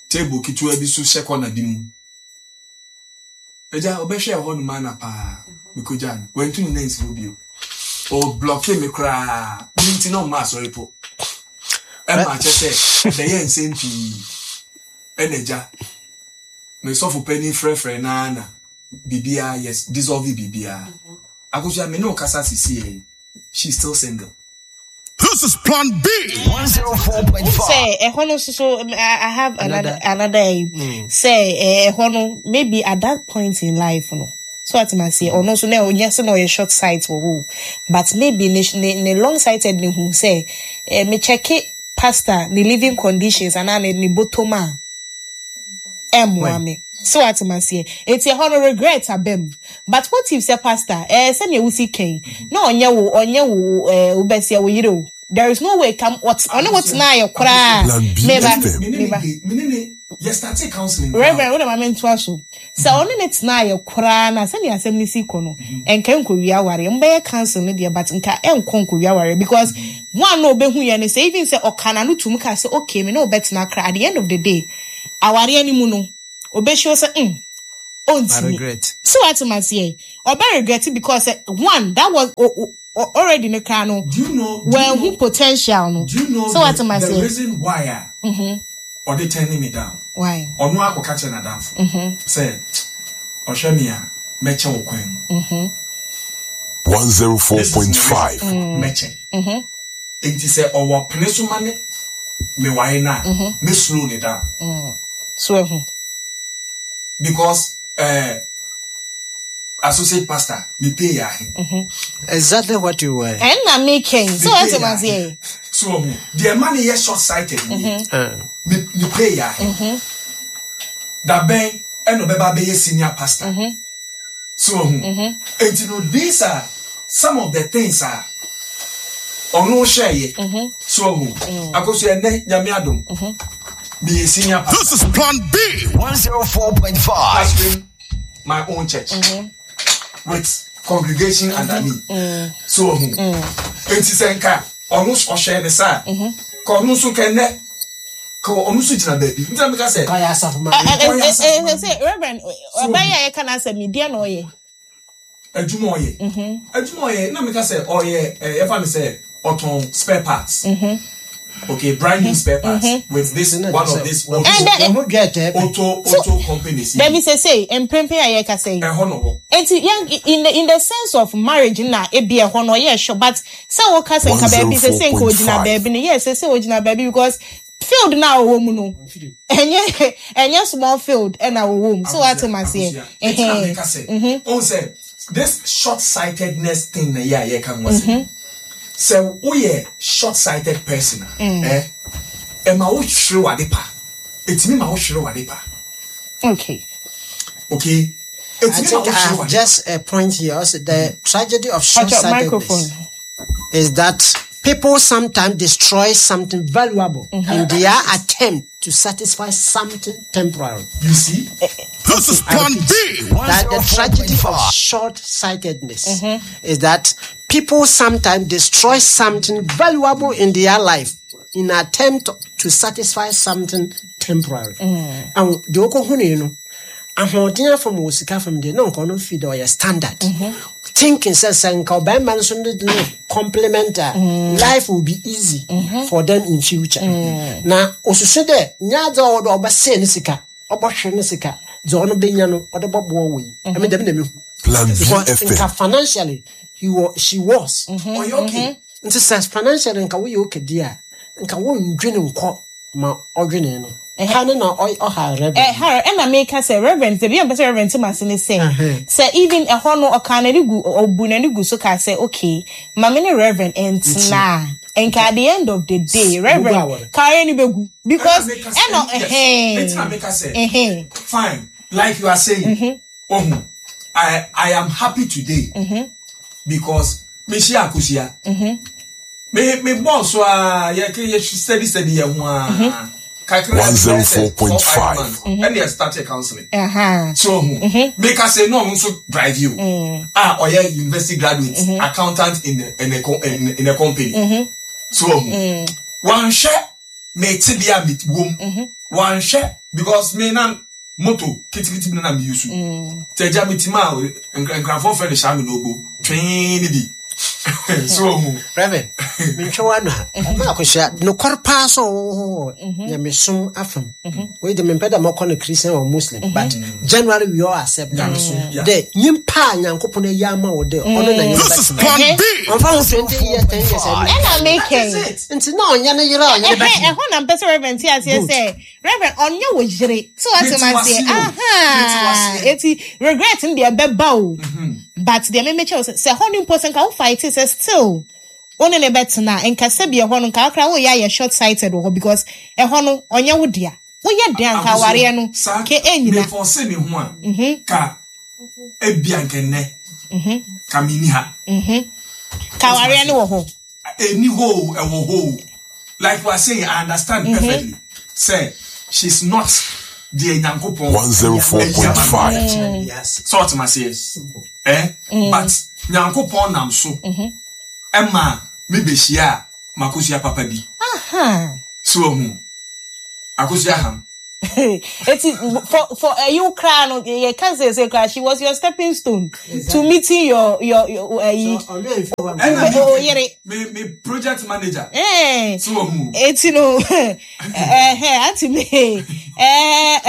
table ketewa bi so hyɛ corner bi mu. Agya ɔbɛhwɛ ɛhɔ nom ana paa mekɔgya no, wantu ne nan nsi hɔ bio, ɔblocke me koraa ne nti na ɔma asɔre po ɛma akyɛ sɛ ɛbɛyɛ nsɛm pii. Ɛna agya me sɔfo panin frɛfrɛ naa na biribiara, yes, dissolve biribiara. Akosua, me ne wo kasa sisi yɛ, she is still single. This is Plan B 104.5. Sɛ ɛhɔ no nso so I have another sɛ ɛhɔ no maybe at that point in life no so ati ma seɛ ɔno nso na ɔnyɛ sɛ na ɔyɛ short sight wɔ hɔ, but maybe ne long sighted ne hu sɛ me check pastor ne living conditions anaa ne bɔtɔm a ɛmmoa me. So wate maseɛ. Eti ɛhɔ no regret aba mu. But what if sɛ pastor, eh, sɛnea wosi kɛn, na ɔnyɛ wo, ɔnyɛ wo, eh, wo bɛseɛ, wo yere o. There is no way kam, ɔt, ɔne wo tena ayɛ koraa. Plan B Meba, FM. Me ne ne meba. de me ne ne yɛ startee counseling koraa Reverend, wo de ma mentoa so. Sɛ ɔne ne tena ayɛ koraa na sɛnea asɛm no si kɔ no, ɛnka nkɔwie awareɛ. Mobɛyɛ council no deɛ, but nka ɛnkɔ nkɔwie awareɛ because one na ɔbɛhu yɛ no sɛ even sɛ ɔka n'ano tum ka sɛ okay, me ne wo bɛtena koraa, at the end of the day, awareɛ no mu no, ɔbɛhyia wo sɛ mm, I ɔntumi. regret. So wate maseɛ, ɔbɛ regret because sɛ one, that was o, o, already no koraa no, Do you know? Do you wanhu know? potential no. Do you know So wate the the maseɛ, reason why a ɔde turning me down? why? Ɔno akɔka kyerɛ n'adamfo sɛ ɔhwɛ me a mɛkyɛ wo kwan mu. This is the 104.5. reason mɛkyɛ. Nti sɛ ɔwɔ pene so ma ne meware no a me slow ne down So ehu. because associate pastor me pay yɛ ahe. Exactly what you were. Ɛnna mekɛn. Me So pay wate yɛ ahe. maseɛ. So ɔho deɛ ɛma ne yɛ short sighted nie me ne pay yɛ ahe. Dabɛn ɛna ɔbɛba abɛyɛ senior pastor. So ɔho nti no these are some of the things a ɔno hyɛ yɛ. So ɔho akoso ɛnɛ nyame adom meyɛ senior pastor. This is Plan B 104.5. Pastoring my own church with congregation under me. So ɔho nti sɛ nka ɔno ɔhyɛ ne saa ka ɔno nso kɛnɛ ka ɔno nso gyina baabi nti na meka sɛ Kaya asafo ma. Ɔyɛ asafo ma. Sɛ Reverend, ɔbɛyɛ a yɛka n'asɛm yi, deɛ na ɔyɛ? Adwuma ɔyɛ adwuma ɔyɛ na meka sɛ ɔyɛ yɛfa no sɛ ɔtɔn spare parts. Okay, brand new spare parts with this one of this auto And then- Wɔn ho dwa ɛtɛ pɛ. auto companies. Dabi sɛ sei, mprempren a yɛka sɛ yi. Ɛhɔ no wɔ. Enti yɛn in the sense of marriage na ebi ɛhɔ no ɔyɛ sure, but sɛ wɔka sɛ nka baabi sɛ sɛ nka ogyina 104.5. baabi no, yes, sɛ sɛ ogyina baabi because field na ɔwɔ mu no, ɛnyɛ small field ɛna ɔwɔ mu. So wate ma seɛ. Ɛnti na meka sɛ ɔn sɛ this short sightedness thing na yɛ a yɛka ho asɛm sɛ woyɛ short sighted person a ɛma wo hwere wade pa, ɛtumi ma wo hwere wade pa. Okay. Okay, I ɛtumi ma think wo I hwere have wade. just a point here. Also, the tragedy of Patch up short-sightedness microphone. is that people sometimes destroy something valuable in their attempt to satisfy something temporary. You see? This is Plan B That the tragedy of 104.5. short-sightedness is that people sometimes destroy something valuable in their life in attempt to satisfy something temporary. And the okohuni, you know, ahoɔden afam wɔ sika fam deɛ na nka ɔno fi dɛ ɔyɛ standard thinking sɛ sɛ nka ɔbɛrima nso no de no compliment a life will be easy for them in future. Na osusu dɛ nyɛ adze a ɔwɔ dɛ ɔbɛsɛe ne sika, ɔbɔhwere ne sika dze ɔno bɛnya no ɔde bɔboa wɔ yi ɛmi dɛm na mehu Plan B because FM. nka financially he was, she was Ɔyɛ okay. Nti sɛ financially nka woyɛ okay di a nka wondwene nkɔ ma ɔdwene no ha ne na ɔha reverend. Harry, ɛna meka sɛ reverend sɛ bi a mpɛ sɛ reverend te ma se ne sɛ sɛ even ɛhɔ no ɔka n'ani gu ɔbu n'ani gu so ka sɛ okay, maame ne reverend ɛntena a nka at the end of the day reverend awɔre. kare ni begu because Ɛna meka sɛ- ɛna yes. Ɛnti na meka sɛ fine, like you are saying, ohun I am happy today because me hyia Akosua me bɔɔl so a yɛ yɛ steady steady yɛ ho a kakra bi bɛyɛ sɛ 4, 5 104.5. months ɛna yɛ start counseling. So ohun meka sɛ no ɔno nso drive you a ɔyɛ university graduate accountant in the in a co- in, in a company. So ohun wanhwɛ me te bi a me wom wanhwɛ because me na moto kitikiti bi na me use tẹ gya me ti ma a nkrafoɔ fɛ no hyɛ me n'obo twee ne bi. So ohun Reverend, mentwe w'ano a ma akɔhyia nokware paa sɛ ɔwɔ hɔ nyamesom afam wei de mempɛ dɛ mɔkɔ no Christian or Muslim, but generally we all accept that Nyamesom, yeah. dɛ nyimpa a Nyankopɔn ayi ama wo dɛ ɔno na nyɛ This is Plan B ɔmfa ho 20 years, 10 years ɛno. Ɛna meka That is yi. it. Nti na ɔnyɛ ne yere a ɔnyɛ ne Ɛhɛ bɛtena ɛhɔ na mpɛ sɛ reverend te aseɛ Good. sɛ reverend ɔnyɛ wo yere so wate Mete ma wase aseɛ o. Mete aha wase. eti regret no deɛ ɛbɛba o, but deɛ memekyɛ wo sɛ sɛ ɛhɔ no mpo sɛ nka wo fight sɛ still wo ne ne bɛtena a, nka sɛbi ɛhɔ no nka akora woyɛ ayɛ short sighted wɔ hɔ because ɛhɔ no ɔnyɛ wo dea. Woyɛ den anka awareɛ no ke ɛnyina. Mefɔse me ho a, ka ebia nkɛnnɛ, ka menni ha. Ka awareɛ no wɔ hɔ. Ɛni hɔ o, ɛwɔ hɔ o. Like we are saying, I understand perfectly. Sɛ she's not deɛ Nyankopɔn 104.5. Sɛ ɔte aseɛ. Eh? But Nyankopɔn nam so ɛma me bɛhyia a makosua papa bi. Aha. So ahu. Akosua ham. Eti for you kra no you can say kra she was your stepping stone to meeting your So, ɔno ɛmfi hɔ Ɛna mfa. Oh, yere. me project manager. Eh. So ahu. Eti no eh eh auntie me eh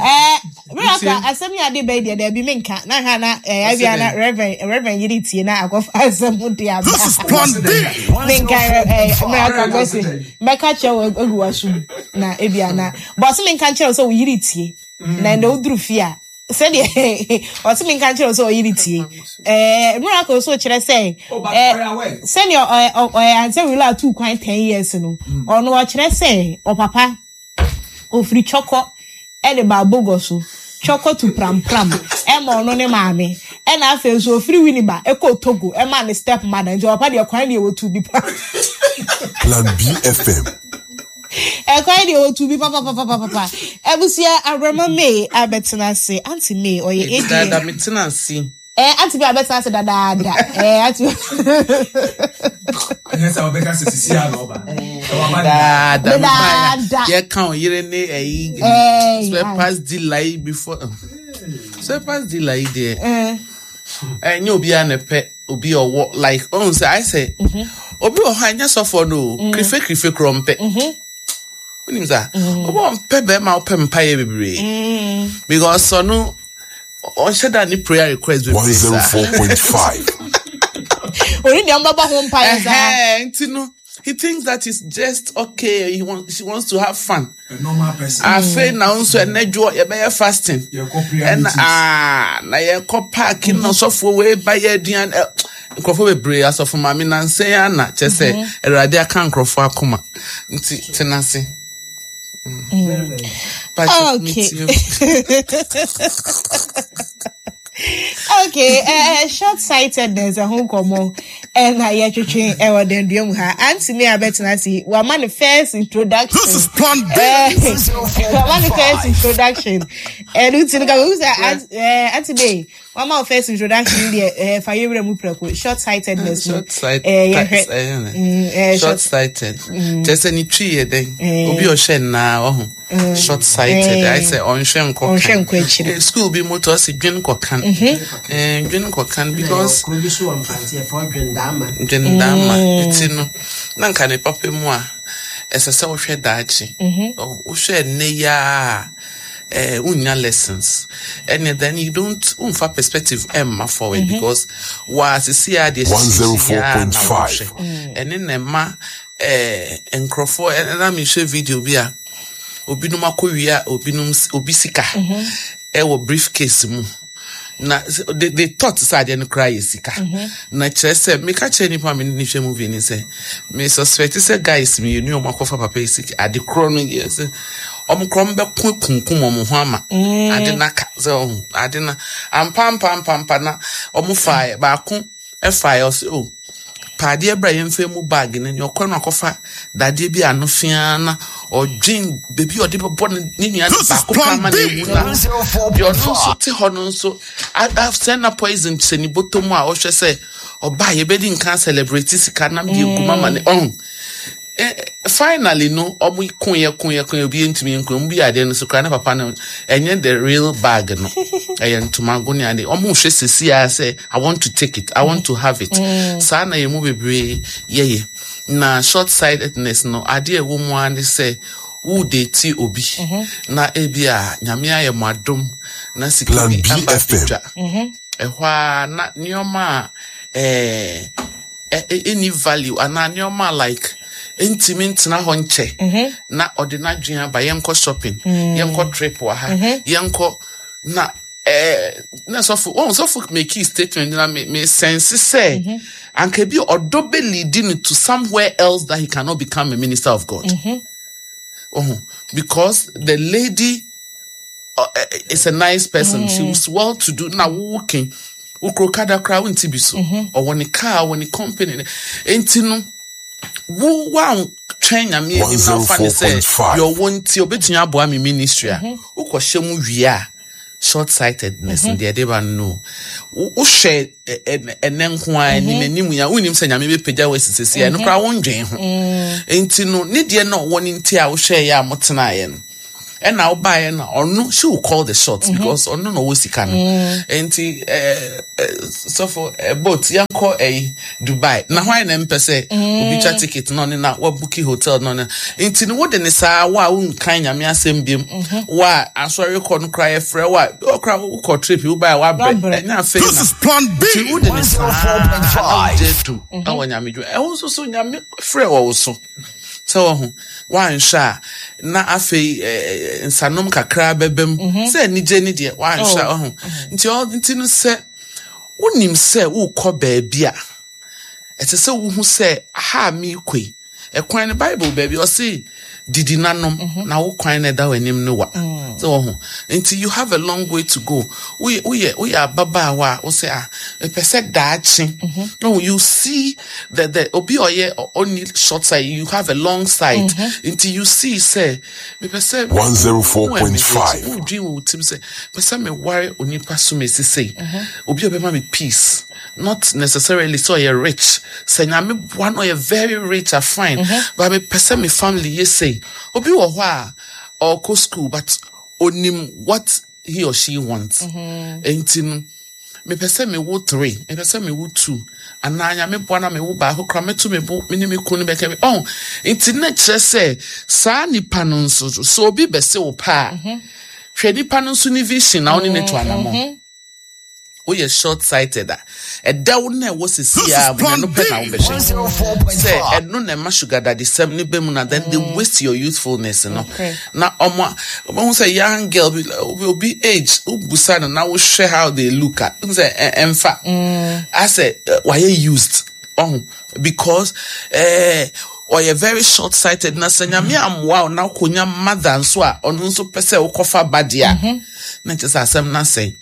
eh miracle asɛm yi ade bɛyi deɛ daabi menka na hwɛ na eh abia na reverend yere tie na akɔfa asɛm de aba. This is Plan B. Menka eh miracle bɛsi mɛka kyerɛ wo agu w'asom na ebia na bɔse menka kyerɛ wo sɛ wo yere tie na ɛnɛ woduru fie a sɛdeɛ ɔse menka kyerɛ wo sɛ ɔyere tie eh miracle so kyerɛ sɛ Oh, but eh ɔyɛ aware. sɛnea ɔyɛ ansɛ wila atu kwan 10 years no ɔno ɔkyerɛ sɛ ɔpapa ofiri twɔkɔ ɛde ba abogɔ so twɔkɔ to prampram ɛma ɔno ne maame ɛna afei nso ofiri winiba ɛkɔ togo ɛma ne step mother nti ɔpapa deɛ kwan deɛ wɔtu bi pa Plan B FM. ɛkwan deɛ wɔtu bi papapapapapa abusua abrama may abɛtena ase aunty may ɔyɛ Dada ada metena ase. eh aunty may abɛtena ase dadaada eh aunty Ɛnyɛ sɛ ɔbɛka sɛ sisi a na ɔba. Ɛwɔ aba ne Dada Dada. mebaya. Yɛka wo yere ne ɛyi Eh, spare parts dealer yi before. Spare parts dealer yi deɛ. eh Ɛnyɛ obiara na ɛpɛ obi a ɔwɔ like ɔhun sɛ ayɛ sɛ obi wɔ hɔ a ɛnyɛ sɔfoɔ no o krife krife korɔ mpɛ. Wonim sa obi wɔ mpɛ bɛrima a ɔpɛ mpaeɛ bebree because ɔno ɔnhyɛ da ne prayer request bebree saa. 104.5. oni deɛ ɔmbɛbɔ ho mpaeɛ saa Ɛhɛn, nti no he thinks that it's just okay she wants to have fun. A normal person. Afei na wo nso ɛnɛ dwoɔ yɛbɛyɛ fasting. Yɛkɔ prayer ɛna meetings. aa na yɛkɔ park na ɔsɔfoɔ wei ba yɛ aduane ɛ nkurɔfoɔ bebree asɔfo maame nansɛn ana kyɛ sɛ awurade aka nkurɔfoɔ akoma nti tena ase. Pakyɛ, Okay. metie. Okay, short sightedness ɛho nkɔmmɔ ɛna yɛtwetwe ɛwɔ dandua mu ha. Aunty me abɛtena ase, wama ne first introduction. This is Plan B. Wama ne first introduction. Ɛno nti no ka mehu sɛ Aunty May, wama wo first introduction deɛ fa yɛwura mu prɛko. Short sightedness no. Short sight, Yɛhwɛ. Short sighted. Kyerɛ sɛ ne twi yɛ dɛn? Obi a ɔhwɛ nnaa ɔho. Short sighted. Ayɛ sɛ ɔnhwɛ nkɔ Ɔnhwɛ kan. nkɔ akyiri. School bi moto ɔsi dwen kɔ kan. Dwen kɔ kan because Kuro bi so wɔ Mfante yɛfrɛ Dwendaama. dwendaama nti no na nka ne papa mu a ɛsɛ sɛ wohwɛ daakye. Wohwɛ nnɛ yi a wonya lessons ɛne then you don't womfa perspective ɛmma forward because wɔasisi a deɛ hyehyɛ a na 104.5. wɔhwɛ ɛne na ɛma nkurɔfoɔ ɛna mehwɛ video bi a obinom akɔwia obinom obi sika ɛwɔ briefcase mu na they thought sɛ adeɛ no koraa yɛ sika na kyerɛ sɛ meka kyerɛ nipa a me ne hwɛ movie ni sɛ me suspect sɛ guys mmienu a ɔmo akɔfa papa yi sika ade korɔ no yɛ sɛ ɔmo korɔ ɔmo bɛko kunkum ɔmo ho ama ade no aka sɛ ɔho ade no ampa ampa ampa ampa na ɔmo faeɛ baako ɛfaeɛ ɔsɛ o paadeɛ bra yɛmfa mu bag no nea ɔkɔ no akɔfa dadeɛ bi ano fia na ɔdwen beebi a ɔde bɛbɔ ne nua no This is baako pa Plan ama na B. ewu na deɛ ɔno nso te hɔ no nso asɛn na poison hyɛ ne bɔtɔ mu a ɔhwɛ sɛ ɔbaa yɛbɛdi nkan celebrate sika nam deɛ egu mama ne ɔn finally no ɔmo koyɛ koyɛ koyɛ obi ntumi nko ɔmo bi adeɛ no so koraa ne papa no ɛnyɛ the real bag no ɛyɛ ntomago ne ade ɔmo hwɛ sisi a sɛ I want to take it, I want to have it. Saa na yɛn mu bebree yɛyɛ na short sightedness no adeɛ a ɛwɔ mu ara ne sɛ wo date obi na ebi a nyame ayɛ mo adom na sika Plan bi aba BFM. abɛdwa ɛhɔ a na nneɛma a ɛni value anaa nneɛma a like ntumi ntena hɔ nkyɛ na ɔde n'adwene aba yɛnkɔ shopping, yɛnkɔ trip wɔ ha, yɛnkɔ na na sɔfo wɔn sɔfo make statement na me sense sɛ anka bi ɔdɔ bɛ lead no to somewhere else that he cannot become a minister of God. Oh, because the lady is a nice person. She was well to do. Na wo working. Wo kuro kada koraa wonti bi so. Ɔwɔ ne car, ɔwɔ ne company. Enti no, wo wantwɛn Nyame anim na wofa ne sɛ 104.5. deɛ ɔwɔ nti obetumi aboa me ministry a, wokɔhyɛ mu wie a, short sightedness mm deɛ ɛde ba no. Wohwɛ ɛnɛ nko ara anim anim ya, wonim sɛ Nyame bɛpagya wo asi sɛsi a, ɛno koraa wondwen ho. Enti no, ne deɛ na ɔwɔ no nti a wohwɛeɛ a motenaeɛ no, ɛna wobaeɛ no, ɔno, she will call the shots because ɔno na ɔwɔ sika no. Enti sɔfo boat yɛnkɔ ɛyi Dubai na hwan na mpɛ sɛ obi twa ticket na ɔne na wabuki hotel na ɔne. Nti no wode ne saa wo a wonkan Nyame asɛm biom, wo a asɔre kɔ no koraa yɛfrɛ wo a ɔkora wokɔ trip wobaeɛ wabrɛ, ɛnyɛ afei This na is Plan B. nti wode ne saa na 104.5. wogye atum ɛwɔ Nyame dwuma ɛwo nso so Nyame frɛ wɔ wo so sɛ wɔho woanhwɛ a na afei nsanom kakra bɛbɛ mu sɛ anigye ne deɛ woanhwɛ a ɔho nti nti no sɛ wonim sɛ wokɔ baabi a ɛsɛ sɛ wohu sɛ aha a meekɔ yi ɛkwan no Bible baabi ɔse didi nanom na wo kwan na ɛda w'anim no wa sɛ wɔho nti you have a long way to go. Woyɛ woyɛ woyɛ ababaawa a wo sɛ ah mepɛ sɛ daakye no you see the obi a ɔyɛ ɔnni short sight, you have a long sight nti you see sɛ mepɛ sɛ 104.5. wodwen wɔ wo tirim sɛ pɛ sɛ meware onipa so mesi sei obi a ɔbɛma me peace, not necessarily sɛ ɔyɛ rich, sɛ Nyame boa no ɔyɛ very rich a fine, but mepɛ sɛ me family yɛ sei. Obi wɔ hɔ a ɔkɔ school but onim what he or she wants. Enti no mepɛ sɛ mewo 3, mepɛ sɛ mewo 2, anaa Nyame boa na mewo baako koraa mɛto me bo me ne me kunu bɛka bi ɔn. Nti na kyerɛ sɛ saa nipa no nso so obi bɛse wo paa, hwɛ nipa no nso ne vision na wo ne ne to anammɔn. Woyɛ short sighted a ɛdɛw na ɛwɔ sisi a Plan ɛno pɛ na B. wobɛhwɛ sɛ 104.5. ɛno na ɛma sugar daddy sɛm ne bɛ mu na then they waste your youthfulness no. Na ɔmo ɔmo sɛ young girl bi obi age wobusa no na wohwɛ how they look at sɛ ɛmfa asɛ wayɛ used ɔho because ɔyɛ very short sighted na sɛ Nyame ammoa wo na wokonya mother nso a ɔno nso pɛ sɛ wokɔfa ba deɛ a na kyerɛ sɛ asɛm no asɛe.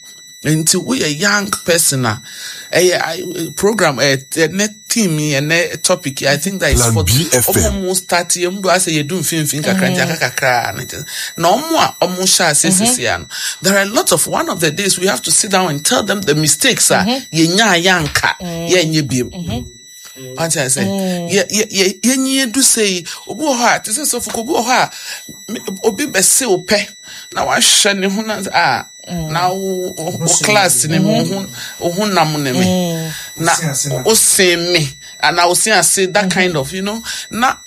Nti woyɛ young person a ɛyɛ program ɛnɛ theme yi ɛnɛ topic yi, I think that is Plan for BFM. ɔmo mo start yɛ mu do asɛ yɛdu mfimfini kakra nti aka kakra na kyerɛ na ɔmo a ɔmo hyɛ ase sisi ano, there are a lot of, one of the days we have to sit down and tell them the mistakes a yɛnya yɛanka yɛnyɛ biem. Wate ase? Yɛ yɛ yɛ yɛnyi edu sɛ yi, obi wɔ hɔ a te sɛ sɔfo, obi wɔ hɔ a obi bɛse wo pɛ na wahwɛ ne ho na a na wo wo class ne mu wo ho nam ne me na wo sen me ana wo sen ase, that kind of na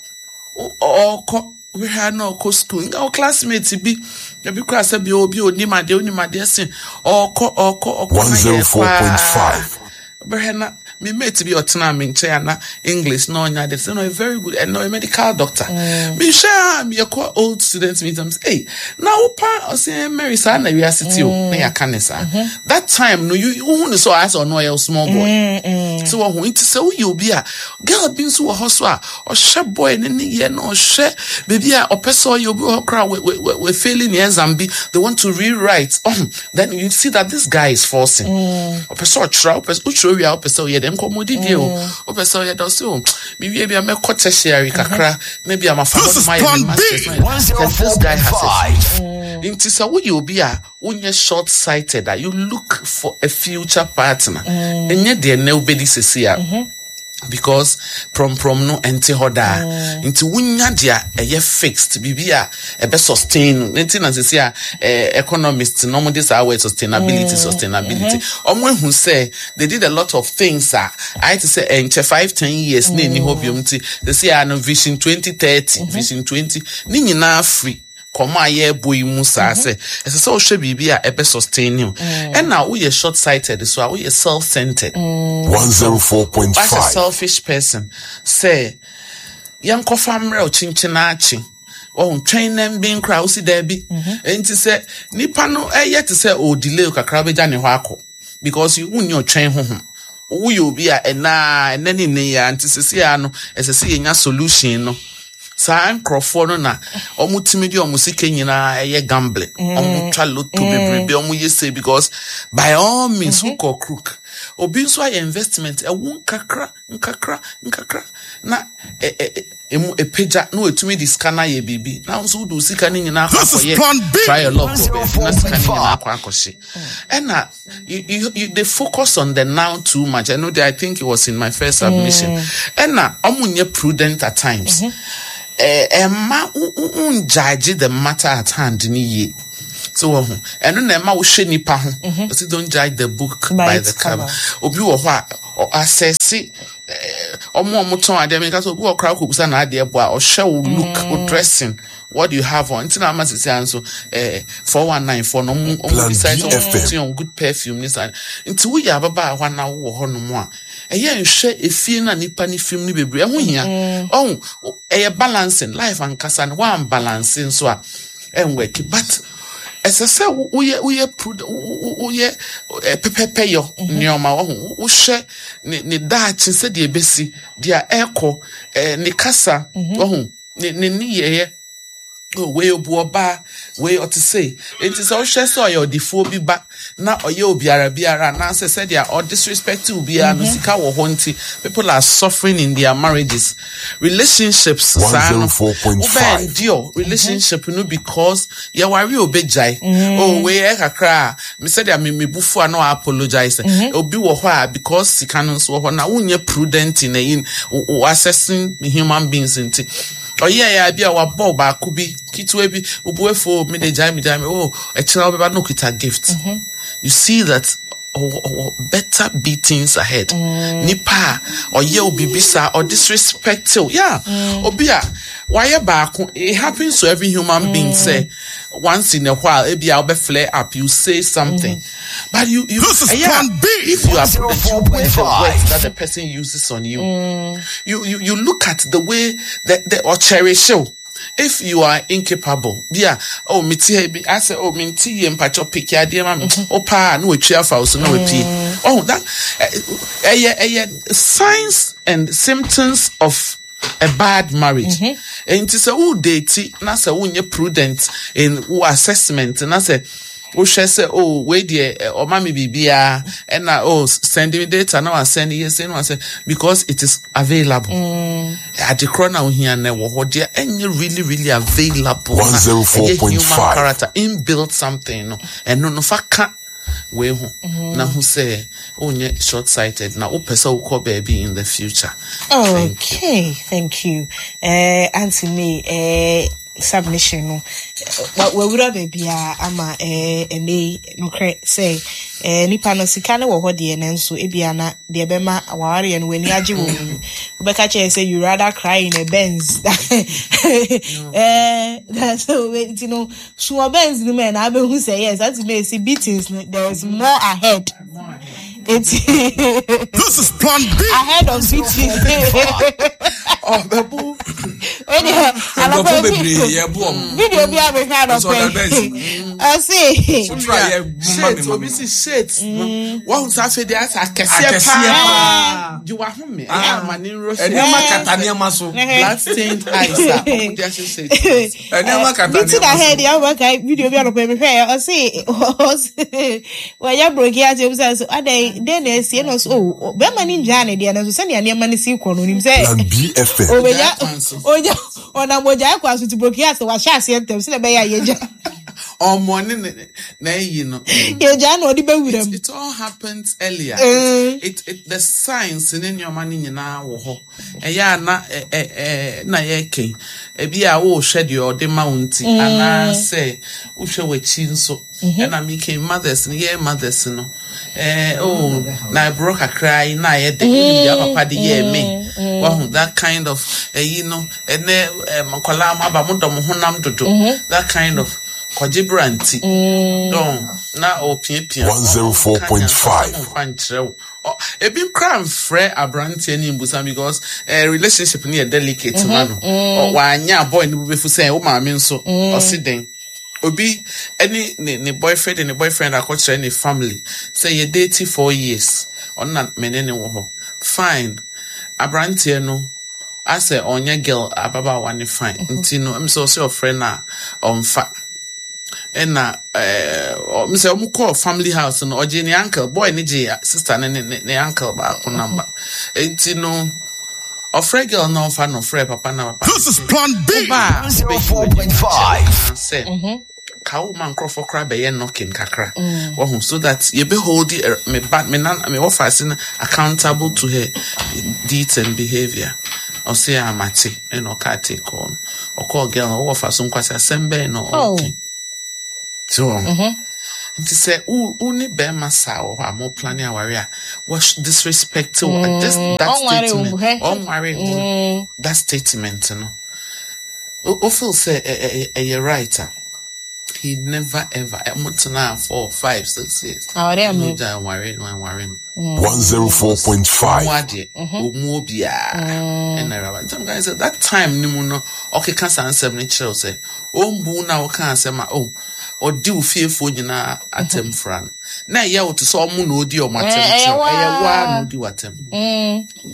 ɔkɔ wohwɛ na ɔkɔ school nga wo classmate bi ebi kora sɛ bi obi onim adeɛ onim adeɛ sen ɔkɔ ɔkɔ ɔkɔ na yɛ kɔ 104.5. Bɛhwɛ na me mate bi ɔtena me nkyɛn ana English na ɔnya de sɛ no ɔyɛ very good ɛna ɔyɛ medical doctor. Mehwɛ a yɛkɔ old students meet am sɛ hey na wo pa ɔsɛ Mary saa na wiase ti o na yɛaka ne saa. That time no you wohu ne sɛ ɔayɛ sɛ ɔno ɔyɛ small boy. Sɛ wɔho nti sɛ woyɛ obi a girl bi nso wɔ hɔ so a ɔhwɛ boy ne ne yɛ na ɔhwɛ baabi a ɔpɛ sɛ ɔyɛ obi wɔ hɔ koraa we failing ne exam bi, they want to rewrite, then you see that this guy is forcing. Ɔpɛ sɛ ɔtwerɛ, ɔpɛ sɛ wotwerɛ wie a wopɛ sɛ ɔyɛ dɛ nkɔmmɔdidie o wopɛ sɛ ɔyɛ dɛ ɔsɛ o mewie bi a mɛkɔ tertiary kakra na bi a mafa hɔ This is nom ayɛ me Plan B. masters na ayɛ. Then this guy has a 104.5. Nti sɛ woyɛ obi a wonyɛ short sighted a you look for a future partner, ɛnyɛ deɛ nnɛ wobɛdi sesi a because prɔmprɔm no ɛnte hɔ daa. Nti wonya deɛ a ɛyɛ fixed, biribi a ɛbɛ sustain no. Nti na sesi a economist na ɔmo de saa word sustainability, sustainability, ɔmo ehu sɛ they did a lot of things a ayɛ te sɛ ɛnkyɛ 5, 10 years na ɛni hɔ biom. Nti sesi a no Vision 2030, Vision 20 ne nyinaa firi kɔmɔ a yɛrebɔ yi mu saa sɛ ɛsɛ sɛ wohwɛ biribi a ɛbɛ sustain you. Ɛna woyɛ short sighted so a woyɛ self centered, 104.5. wasɛ selfish person sɛ yɛnkɔfa mmerɛ wo kyenkyen akye ɔho twɛn na mbɛn koraa wosi daabi. Nti sɛ nipa no ɛyɛ te sɛ o delay kakra bɛgya ne hɔ akɔ because wonni ɔtwɛn ho ho. Woyɛ obi a ɛnaa ɛnɛ ne nne yɛ a nti sisi a no ɛsɛ sɛ yɛnya solution no. Saa nkurɔfoɔ no na ɔmo tumi de ɔmo sika nyinaa ɛyɛ gambling. Ɔmo twa lotto bebrebe, ɔmo yɛ sei because by all means wokɔ crook. Obi nso ayɛ investment ɛwo nkakra nkakra nkakra na ɛ ɛ emu epagya na watumi de sika no ayɛ biribi na nso wode wo sika no nyinaa akɔ This is akɔyɛ Plan B. try your luck wɔ baabi na sika no nyinaa akɔ akɔhye. Ɛna you they focus on the now too much. I know that I think it was in my first submission. Ɛna ɔmo nyɛ prudent at times. Ɛma wo the matter at hand ni yie. So wɔ ho ɛno na ɛma wohwɛ nipa ho. Ɔsi don't judge the book by By the its cover. cover. Obi wɔ hɔ a asɛse ɔmo a ɔmo tɔn adeɛ mi nka sɛ obi wɔ koraa kɔ na adeɛ bɔ a ɔhwɛ wo look wo dressing, what you have on. Nti na ama sisi anso 419 foɔ no ɔmo Plan decide sɛ ɔmo BFM. put on good perfume ne saa. Nti woyɛ ababaawa na wowɔ hɔnom a, ɛyɛ nhwɛ efie na nipa ne fim no bebree ɛho hia. Ɔho ɛyɛ balancing life ankasa no, wɔn balance nso a ɛnwɛki, but ɛsɛ sɛ woyɛ prudent, woyɛ pɛpɛpɛ yɔ nneɛma. Wɔho wohwɛ ne daakye sɛdeɛ ebesi deɛ ɛkɔ, ne kasa, wɔho ne nneyɛeɛ. Oh, wei obu ɔbaa, wei ɔte sei. Nti sɛ wohwɛ sɛ ɔyɛ ɔdefoɔ bi ba na ɔyɛ obiara biara anaasɛ sɛdeɛ ɔdisrespect obiara no, sika wɔ hɔ nti people are suffering in their marriages, relationships saa no. 104.5. Wobɛ endure relationship no because yɛware obɛgyae. Oh, wei ɛ kakra a me sɛdeɛ me mebufu a na apologize. Obi wɔ hɔ a because sika no nso wɔ hɔ na wonyɛ prudent in wo assessing human beings, nti ɔyɛ yɛ bi a wabɔ baako bi ketewa bi, obu efo, me de gyae, me gyae me. Oh, ɛkyerɛ wobɛba na okita gift, you see that ɔwɔ better beatings ahead. Nipa a ɔyɛ obi bi saa, ɔdisrespect you, yeah, obi a wayɛ baako, it happens to every human being sɛ once in a while ebi a ɔbɛ flare up, you say something, but you This is ɛyɛ a, Plan B. if you are prudent, you weigh the 104.5. words that the person uses on you. You look at the way that the or cherish you. If you are incapable, yeah, oh, me ti bi, I say, oh, me ti ye mpacho pick ya deɛ ma me, oh, pa, no we afa so no we pie. Oh, that, signs and symptoms of a bad marriage. Nti sɛ wo date na sɛ wonyɛ prudent in wo assessment na sɛ wohwɛ sɛ, oh, wei deɛ ɔma me biribiara ɛna, oh, send me data na wasend yɛ sɛ na wasend because it is available. Adekorɔ na ohia na ɛwɔ hɔ deɛ ɛnyɛ really really available na ɛyɛ human 104.5. character inbuilt something no, ɛno no fa ka wei ho na ho sɛ wonyɛ short sighted na wopɛ sɛ wokɔ baabi in the future. Thank you. Okay, thank you. Auntie May, submission no, wawura baabi a ama ɛnɛ yi nokorɛ sɛ nipa no sika no wɔ hɔ deɛ, nanso ebia na deɛ ɛbɛma awareɛ no w'ani agye wɔ mu no, wobɛka kyerɛ sɛ you rather cry in a Benz. So nti no so wɔ Benz no mu ɛ na abɛhu sɛ yes, Auntie May si beatings no, there is more ahead. Nti This is Plan B. ahead of beating. Ɔbɛbo. Nkurɔfoɔ bebree yɛbo ɔmo. Video bi a mehwɛ Nso ɔda anɔpɛ Benz. ɔse Wotra yɛ mma me shades ma obi me. si shades no wɔn sɛ afei deɛ asɛ akɛseɛ Akɛseɛ paa paa. gye wahome ɛyɛ ama ne nro. Nneɛma kata nneɛma so. Blood stained eyes a ɔmo de ahyehyɛ Nneɛma kata beating nneɛma so. ahead yɛ ɔbɛka video bi anɔpɛ mehwɛ ɔse wɔyɛ broki ase obi sɛ so adɛn den na esi ɛna ɔse o bɛrima ne ngyaa ne deɛ no nso sɛnea nneɛma no si kɔ no onim sɛ Plan BFM. obɛgya Ogyae kwan so. ogya ɔnam ogyae kwan so ti broki ase wahyɛ aseɛ ntɛm sɛ ɛbɛyɛ a yɛgya ɔmɔ ne na ɛyi no. Yɛgya na ɔde bɛwura mu. It all happens earlier. It the signs ne nneɛma no nyinaa wɔ hɔ. Ɛyɛ a na ɛ ɛ ɛ na yɛkɛn. Ebi a wɔrehwɛ deɛ ɔde ma wo nti anaasɛ wohwɛ w'akyi nso. Ɛna mi mothers no, yɛn mothers no. Oh, na ɛborɔ kakra yi na ayɛ de. Wonim deɛ papa de yɛɛ me. Wahu that kind of ɛyi no, ɛnɛ nkɔlaa mo aba mo dɔ mo honam dodo. That kind of kɔgye branti. Dɔn na ɔpiapia. 104.5. Ɔmfa nkyerɛ wo. Ebi nkora mfrɛ aberanteɛ ne mbusa because relationship no yɛ delicate ma no. Wanya boy no bɛfu sɛ wo maame nso ɔsi den. Obi ɛne ne boyfriend ne boyfriend akɔkyerɛ ne family sɛ yɛ date 4 years, ɔno na me ne ne wɔ hɔ. Fine. Aberanteɛ no Asɛ ɔnyɛ girl ababaawa ne fine. Nti no, ɛm sɛ ɔsɛ ɔfrɛ no a ɔmfa. Ɛna ɛɛ sɛ ɔmo kɔɔ family house no, ɔgye ne uncle, boy ne gye sister ne ne uncle baako number. Nti no, ɔfrɛ girl na ɔmfa no, ɔfrɛ papa na papa. This is Plan B. Ɔba a, 104.5. sɛ ka wo ma nkurɔfoɔ koraa bɛyɛ knocking kakra wahu so that yɛbɛ hold me ba me nan me wɔfa ase no accountable to her deeds and behaviour. Ɔse a mate. Ɛna ɔka ate kɔɔ no, ɔkɔɔ girl no ɔwɔ fa so nkwasi asɛm bɛn na ɔka so nti sɛ wo ne bɛrima saa wɔ hɔ a mo plan aware a wɔ disrespect wo, just that Ɔnware wo, statement. Hɛ. Ɔnware wo, that statement no o feel sɛ ɛyɛ right a he never ever ɛmo tena 4, 5, 6 years. Aware no ame. gya aware no, aware no. 104.5. Ɔmo adeɛ ɔmu obiara ɛna ɛwuraba ntam kan sɛ that time ne mu no ɔkeka saa nsɛm no kyerɛw sɛ ɔmbu na ɔka asɛm a oh ɔdi wo fiefoɔ nyinaa atɛm fra no na ɛyɛ wo te sɛ ɔmo na ɔdi ɔmo atɛm Eh, ɛyɛ kyerɛw ɛyɛ waa. waa na ɔdi w'atɛm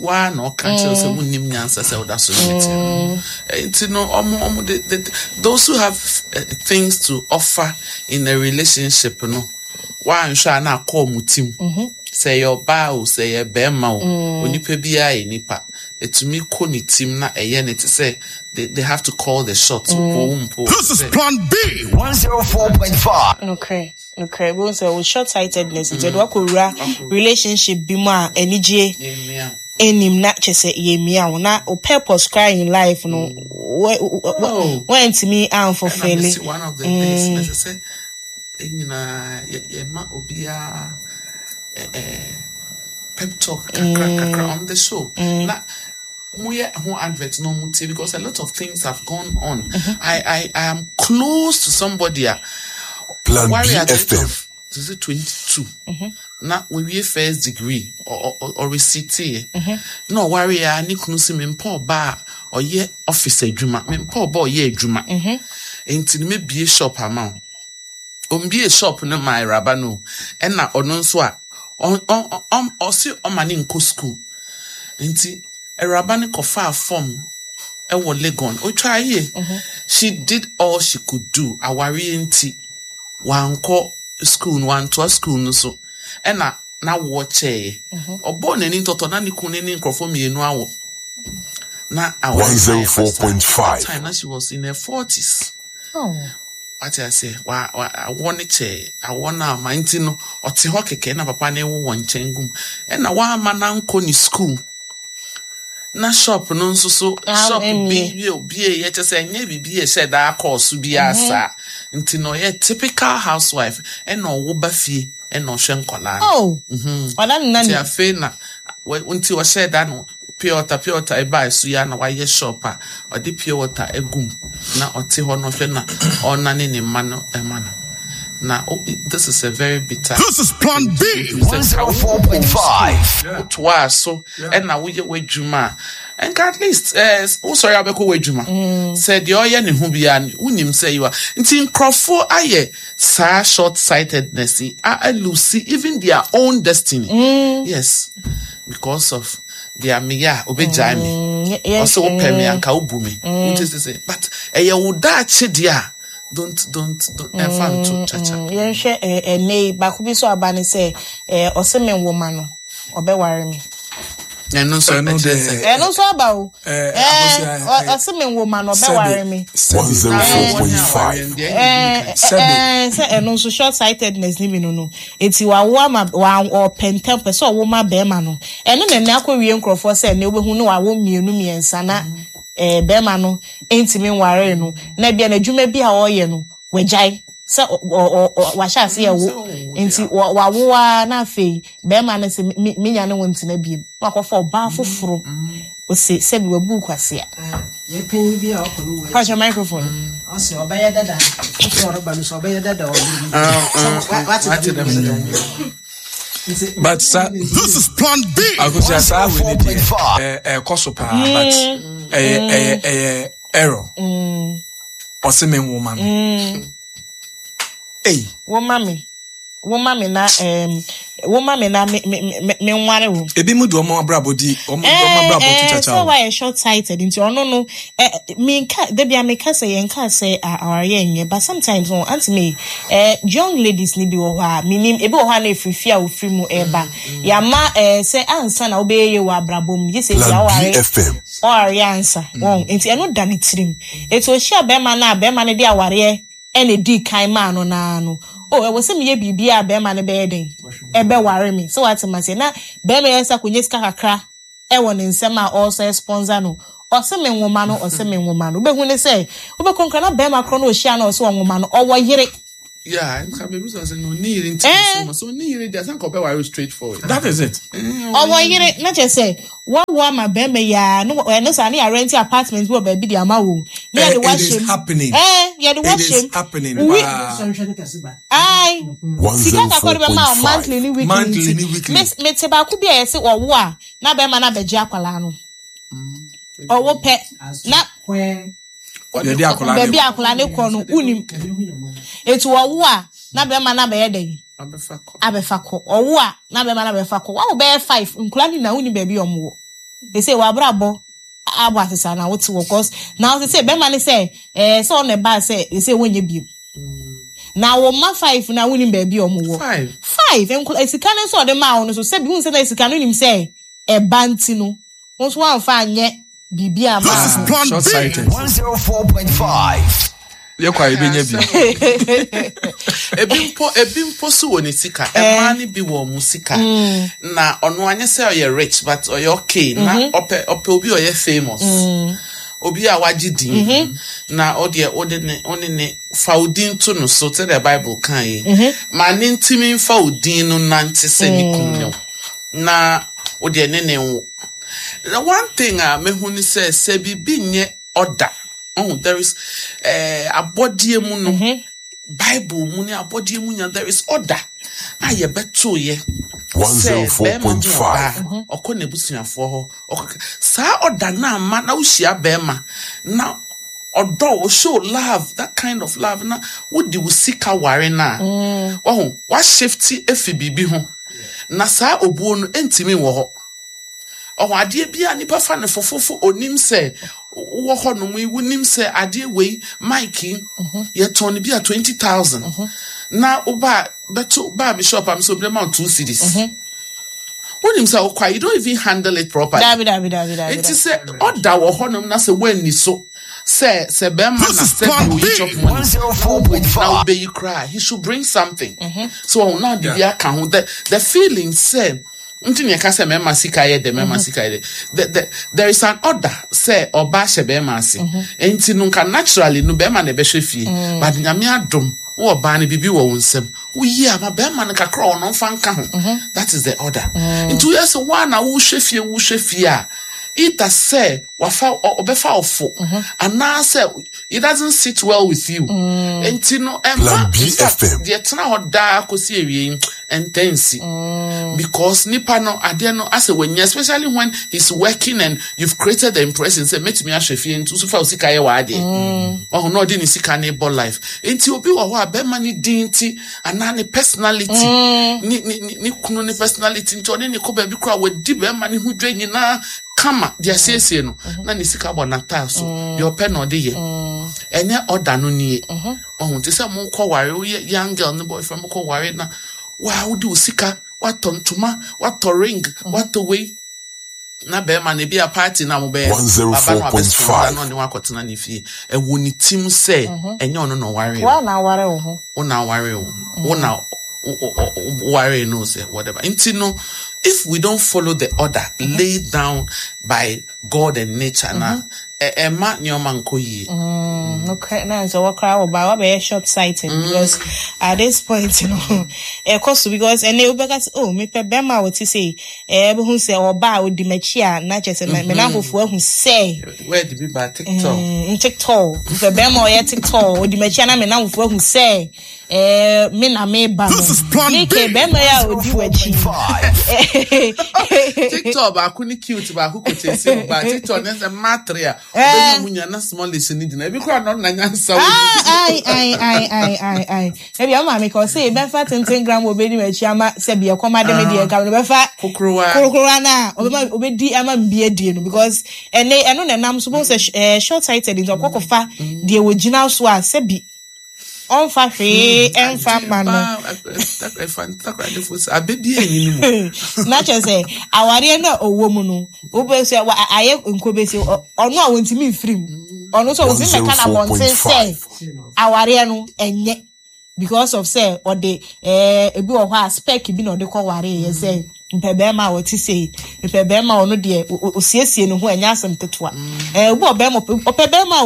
waa na ɔka kyerɛw sɛ wonnim nyansa sɛ woda so ne te nti no ɔmo de those who have things to offer in a relationship no wanhwɛ a na akɔ ɔmo tim sɛ ɛyɛ ɔbaa o, sɛ ɛyɛ bɛrima o, onipa biara yɛ nipa etumi kɔ ne tim na ɛyɛ ne te sɛ they have to call the shots mpo mpo. This is Plan B. 104.5. Nokorɛ bohu sɛ wo short sightedness nti ɛde wakɔwura relationship bi mu a anigye Yɛmmia. anim na kyɛ sɛ yɛmmia wo na wo purpose koraa in life no Oh. woantumi Ɛna amfulfill. mesi one of the days na ɛsɛ sɛ nyinaa yɛma obiara pep talk kakra kakra on the show na moyɛ ho advert na ɔmo tie because a lot of things have gone on. I am close to somebody a Plan worry at the age BFM. of is it 22 na wɔwie first degree ɔresiteɛ na ɔware a ne kunu si mempɛ ɔba a ɔyɛ office adwuma, mempɛ ɔba a ɔyɛ adwuma nti no mebie shop ama wo. Ombie shop no ma awuraba no ɛna ɔno nso a ɔse ɔma ne nkɔ school nti awuraba no kɔfaa form ɛwɔ Legon otwa yie. She did all she could do. Awareɛ nti wankɔ school no, wantoa school no so ɛna n'awoɔ kyɛeɛ ɔbɔɔ n'ani ntɔtɔ na ne kunu ne nkurɔfoɔ mmienu awo na awareɛ no ayɛ basaa. 104.5. That time na she was in her 40s. Oh. Wate ase wa wa awɔ ne kyɛɛ awɔ no ama nti no ɔte hɔ kɛkɛ na papa no wɔ wɔn nkyɛn gum ɛna wama nankɔ ne school na shop no nso so Ah, shop bi ɛmmie. bi obie yɛ kyɛ sɛ ɛnyɛ biribi yɛ hyɛ daa kɔɔ so biara saa nti na ɔyɛ typical housewife ɛna ɔwo ba fie ɛna ɔhwɛ nkɔlaa no. Oh. Ɔda ne Nti nani. afei na nti ɔhyɛ da no pure water ɛbaa so yi a na wayɛ shop a ɔde pure water egum na ɔte hɔ na ɔhwɛ na ɔnane ne mma no ɛma no na this is a very bitter. This is Plan B. 104.5. Wotoa so ɛna woyɛ w'adwuma a nka at least wosɔre a wobɛkɔ w'adwuma sɛ deɛ ɔyɛ ne ho biara no wonim sɛ yiwa nti nkurɔfoɔ ayɛ saa short sightedness yi a lose even their own destiny, yes, because of deɛ meyɛ a obɛgyae me. Ɔsɛ wopɛ me anka wobu me wote sɛ but ɛyɛ wo daakye deɛ a don't ɛmfa nto kyakya. Yɛnhwɛ ɛnɛ yi baako bi so aba ne sɛ ɔsɛ me nwoma no ɔbɛware me. Ɛno nso Ɛno ɛkyerɛ deɛ- sɛ Ɛno nso aba o. Akosua, Ɔsɛ me nwoma no ɔbɛware me. Sɛbi, 104.5. Sɛbi. Sɛ ɛno nso short sightedness ni bi no eti wawo ama wa ɔpɛ ntɛm pɛ sɛ ɔwo ma bɛrima no ɛno na ɛnɛ akɔ wie nkurɔfoɔ sɛ ɛnɛ wobɛhu no wawo mmienu mmiɛnsa na bɛrima no ntumi nware no na bia n'adwuma bi a ɔreyɛ no wagyae sɛ ɔ ɔ ɔ wahyɛ ase ɛwo nti wawo a na afei bɛrima no sɛ menya ne wo ntena biem na wakɔfa ɔbaa foforɔ ose sɛbi wabu kwasea. Yɛpanyin bi a ɔkɔ no wɔ Pakyɛ microphone. Ɔsɛ ɔbɛyɛ dada foforɔ ɔreba no so ɔbɛyɛ dada ɔbɛrɛ Ah, wate. Wate dɛm. But sa This is Plan B. Akosua saa wei ne deɛ 104.5. ɛkɔ so paa but ɛyɛ error. Ɔsɛ me nwoma no. Ei. Woma me na Woma me na me me me menware wo. Ebi mu de wɔn abrabɔ di wɔn de wɔn abrabɔ to kyakya sɛ o. wayɛ short sighted nti ɔno no eh, menka da bia meka sɛ yɛnka sɛ awareɛ nyɛ, but sometimes no aunty me young ladies ni bi wɔ hɔ a menim ebi wɔ hɔ a na ɛfiri fie a wɔfiri mu ɛba yɛama sɛ ansa na wobɛyɛ yie wɔ abrabɔ mu gye sɛ bi Plan aware BFM. ɔware ansa wɔn nti ɛno da ne tirim nti ɔhyia bɛrima no a bɛrima no de awareɛ ɛna ɛdii kan maa no naa no o ɛwɔ sɛ meyɛ biribi a bɛrima no bɛyɛ den ɛbɛware me sɛ wate ma seɛ na bɛrima yɛ sɛ akɔnya sika kakra ɛwɔ ne nsɛm a ɔresɛ sponsor no, ɔse me nwoma no, ɔse me nwoma no, wobɛhu ne sɛ wobɛkɔ nkra na bɛrima korɔ no ɔhyia no ɔse ɔnwoma no, ɔwɔ yere. Yeah, nka baabi sɛ ɔsɛ no ɔni yere nti Eh. so ɔni yere deɛ sɛ nka ɔbɛware straight forward. That is it. Ɔwɔ yere na kyerɛ sɛ wawo ama bɛrima yi a no ɛno saa ne yɛarɛnte apartment bi wɔ baabi de ama wo ne Eh, yɛde it wahyɛ is mu happening. yɛde It wahyɛ is mu happening. Wi- paa. Ae. Sika kakra de bɛma wo monthly 104.5. ne weekly Monthly nti ne weekly. mete baako bi a yɛse ɔwo a na bɛrima no abɛgye akwalaa no, ɔwo pɛ na Yɛde akwadaa baabi no. a akwalaa no kɔ no wonim, eti ɔwo a na bɛrima no abɛyɛ dɛn Abɛfa kɔ. abɛfa kɔ, ɔwo a na bɛrima no abɛfa kɔ, wawo bɛyɛ 5 nkwadaa no nyinaa wonim baabi a ɔmo wɔ ese wabrabɔ abɔ asesa na wote wɔ cause na wote sɛ bɛrima no sɛ sɛ ɔno ɛbaa sɛ ese wɔnyɛ biem na wɔn mma 5 na wonim baabi a ɔmo wɔ 5. 5 nkwadaa sika no nso ɔde maa wɔn no so sɛbi hun sɛ na sika no nim sɛ ɛba nti no wɔn nso wɔamfa anyɛ biribi ama. This is Plan Short B. sighted. 104.5. Yɛ kɔ a yɛbɛnya bi. Ebi mpo so wɔ ne sika. Mmaa no bi wɔ ɔmo sika. Na ɔno anyɛ sɛ ɔyɛ rich but ɔyɛ okay. Na ɔpɛ obi a ɔyɛ famous. Obi a wagye din. Na ɔdeɛ ɔde ne ɔne ne fa wo din to no so sɛdeɛ Bible kan yi. Ma ne ntumi mfa wo din no nante sɛ ne kun ne wo. Na ɔdeɛ ne ne nwo. The one thing a mehu ne sɛ biribi nyɛ order. Oh, there is abɔdeɛ mu no. Bible mu ne abɔdeɛ mu nya there is order. A yɛbɛto yɛ. Sɛ bɛrima ho 104.5. ɔbaa, ɔkɔ n'abusuafoɔ hɔ. Saa order na ama na wohyia bɛrima na ɔdɔ wo, show love, that kind of love na wodi wo sika ware na. Wahu, wa shift efi biribi ho. Na saa obuo no ntimi wɔ hɔ. Ɔho adeɛ bi a nipa fa ne fofofo onim sɛ wɔ hɔ nom yi wonim sɛ adeɛ wei mic yi yɛtɔn no bi a 20,000. Na woba bɛto ba me shop am so obi ma wo 2 cedis. Wonim sɛ wokɔ a you don't even handle it properly. Dabi dabi dabi dabi. Nti sɛ ɔda wɔ hɔnom na sɛ woanni so sɛ bɛrima na This is sɛ Plan bi oyi B. chop money 104.5. na wobɛyi koraa he should bring something. So ɔho na ɔde bi aka ho the feeling sɛ nti ne yɛka sɛ mɛma sika yɛ dɛ mɛma sika yɛ dɛ there is an order sɛ ɔba hyɛ bɛrima ase nti no nka naturally no bɛrima na ɛbɛhwɛ fie but Nyame adom wo ɔbaa no biribi wɔ wo nsam woyi ama bɛrima no kakra ɔno mfa nka ho. That is the order. Nti woyɛ sɛ woa na wohwɛ fie a either sɛ wafa ɔbɛfa ɔfo anaasɛ it doesn't sit well with you. Nti no Plan ɛma in fact BFM. deɛ tena hɔ daa kɔsi awie yi ɛntɛnsi. Because nipa no adeɛ no asɛ wanya, especially when he's working and you've created the impression sɛ mɛtumi ahwɛ fie nti so fa wo sika yɛ w'adeɛ. Ɔho na ɔde ne sika ne bɔ life. Nti obi wɔ hɔ a bɛrima ne din nti anaa ne personality ne kunu ne personality nti ɔne ne kɔ baabi koraa wadi bɛrima ne ho dwa nyinaa kama deɛ asiesie no na ne sika bɔ n'ataa so deɛ ɔpɛ na ɔde yɛ. Ɛnyɛ ɔda no nie. Ɔho te sɛ mokɔ ware woyɛ young girl ne boyfriend mokɔ ware na waa wode wo sika watɔ ntoma watɔ ring watɔ wei na bɛrima no ebi a party na mobɛyɛ no, baba no abɛsɔn na ɔne wakɔtena ne fie ɛwɔ ne tim sɛ ɛnyɛ ɔno na ɔware wo. Wa na aware wo ho. Wo na aware wo. Wo na ware no sɛ whatever. Nti no if we don't follow the order laid down by God and nature na ɛma nneɛma nkɔ yie. Okay, na nso wɔkora wɔ ba wabɛyɛ short sighted because at this point no ɛkɔ so because ɛnɛ wobɛka sɛ oh mepɛ bɛrima a wɔte sɛ ɛbɛhu sɛ ɔba a odi m'akyi a na kyerɛ sɛ me nanfofoɔ ahu sɛ Where did we buy TikTok? TikTok mepɛ bɛrima a ɔyɛ TikTok odi m'akyi a na me nanfofoɔ ahu sɛ ɛɛ me na meba no This is Plan ne B. ke bɛrima yi a odi w'akyi TikTok baako ne cute baako kò esi mu ba TikTok ne sɛ mmaa a ɔbɛnya mu nya na small ne gyina ebi koraa na ɔno na nyansa wɔ Ah, ai, ai, ai, ai, ai, ai. Ebi ɔmo maame ka ɔsɛ bɛfa tenten gram wɔ obedi m'akyi ama sɛ bi ɛkɔm ade me deɛ nka no bɛfa kokorowa. Korokorowa na ɔbɛma obedi ama mbi adie no because ɛnɛ ɛno na ɛnam so bɔn sɛ short sighted nti ɔkɔ kɔfa deɛ wɔgyina so a sɛbi ɔmfa hwee ɛmfa ma no. Ntakradefo sɛ abɛbi enyi no mu. Na kyerɛ sɛ awareɛ no a ɔwɔ mu no wobɛ sɛ ayɛ nkobɛsi ɔno a wɔntumi mfiri mu, ɔno nso wɔntumi mmɛka no abɔnten sɛ awareɛ no ɛnyɛ because of sɛ ɔde ebi wɔ hɔ a spec bi na ɔde kɔ wareɛ sɛ mpɛ bɛrima a ɔte sei, mpɛ bɛrima a ɔno deɛ osiesie ne ho, ɛnyɛ asɛm ketewa. Obi wɔ bɛrima ɔpɛ bɛrima a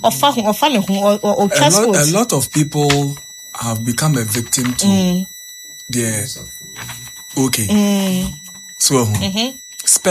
ɔfa ho, ɔfa ne ho, ɔtwa sport. A lot of people have become a victim to their okay. So spec.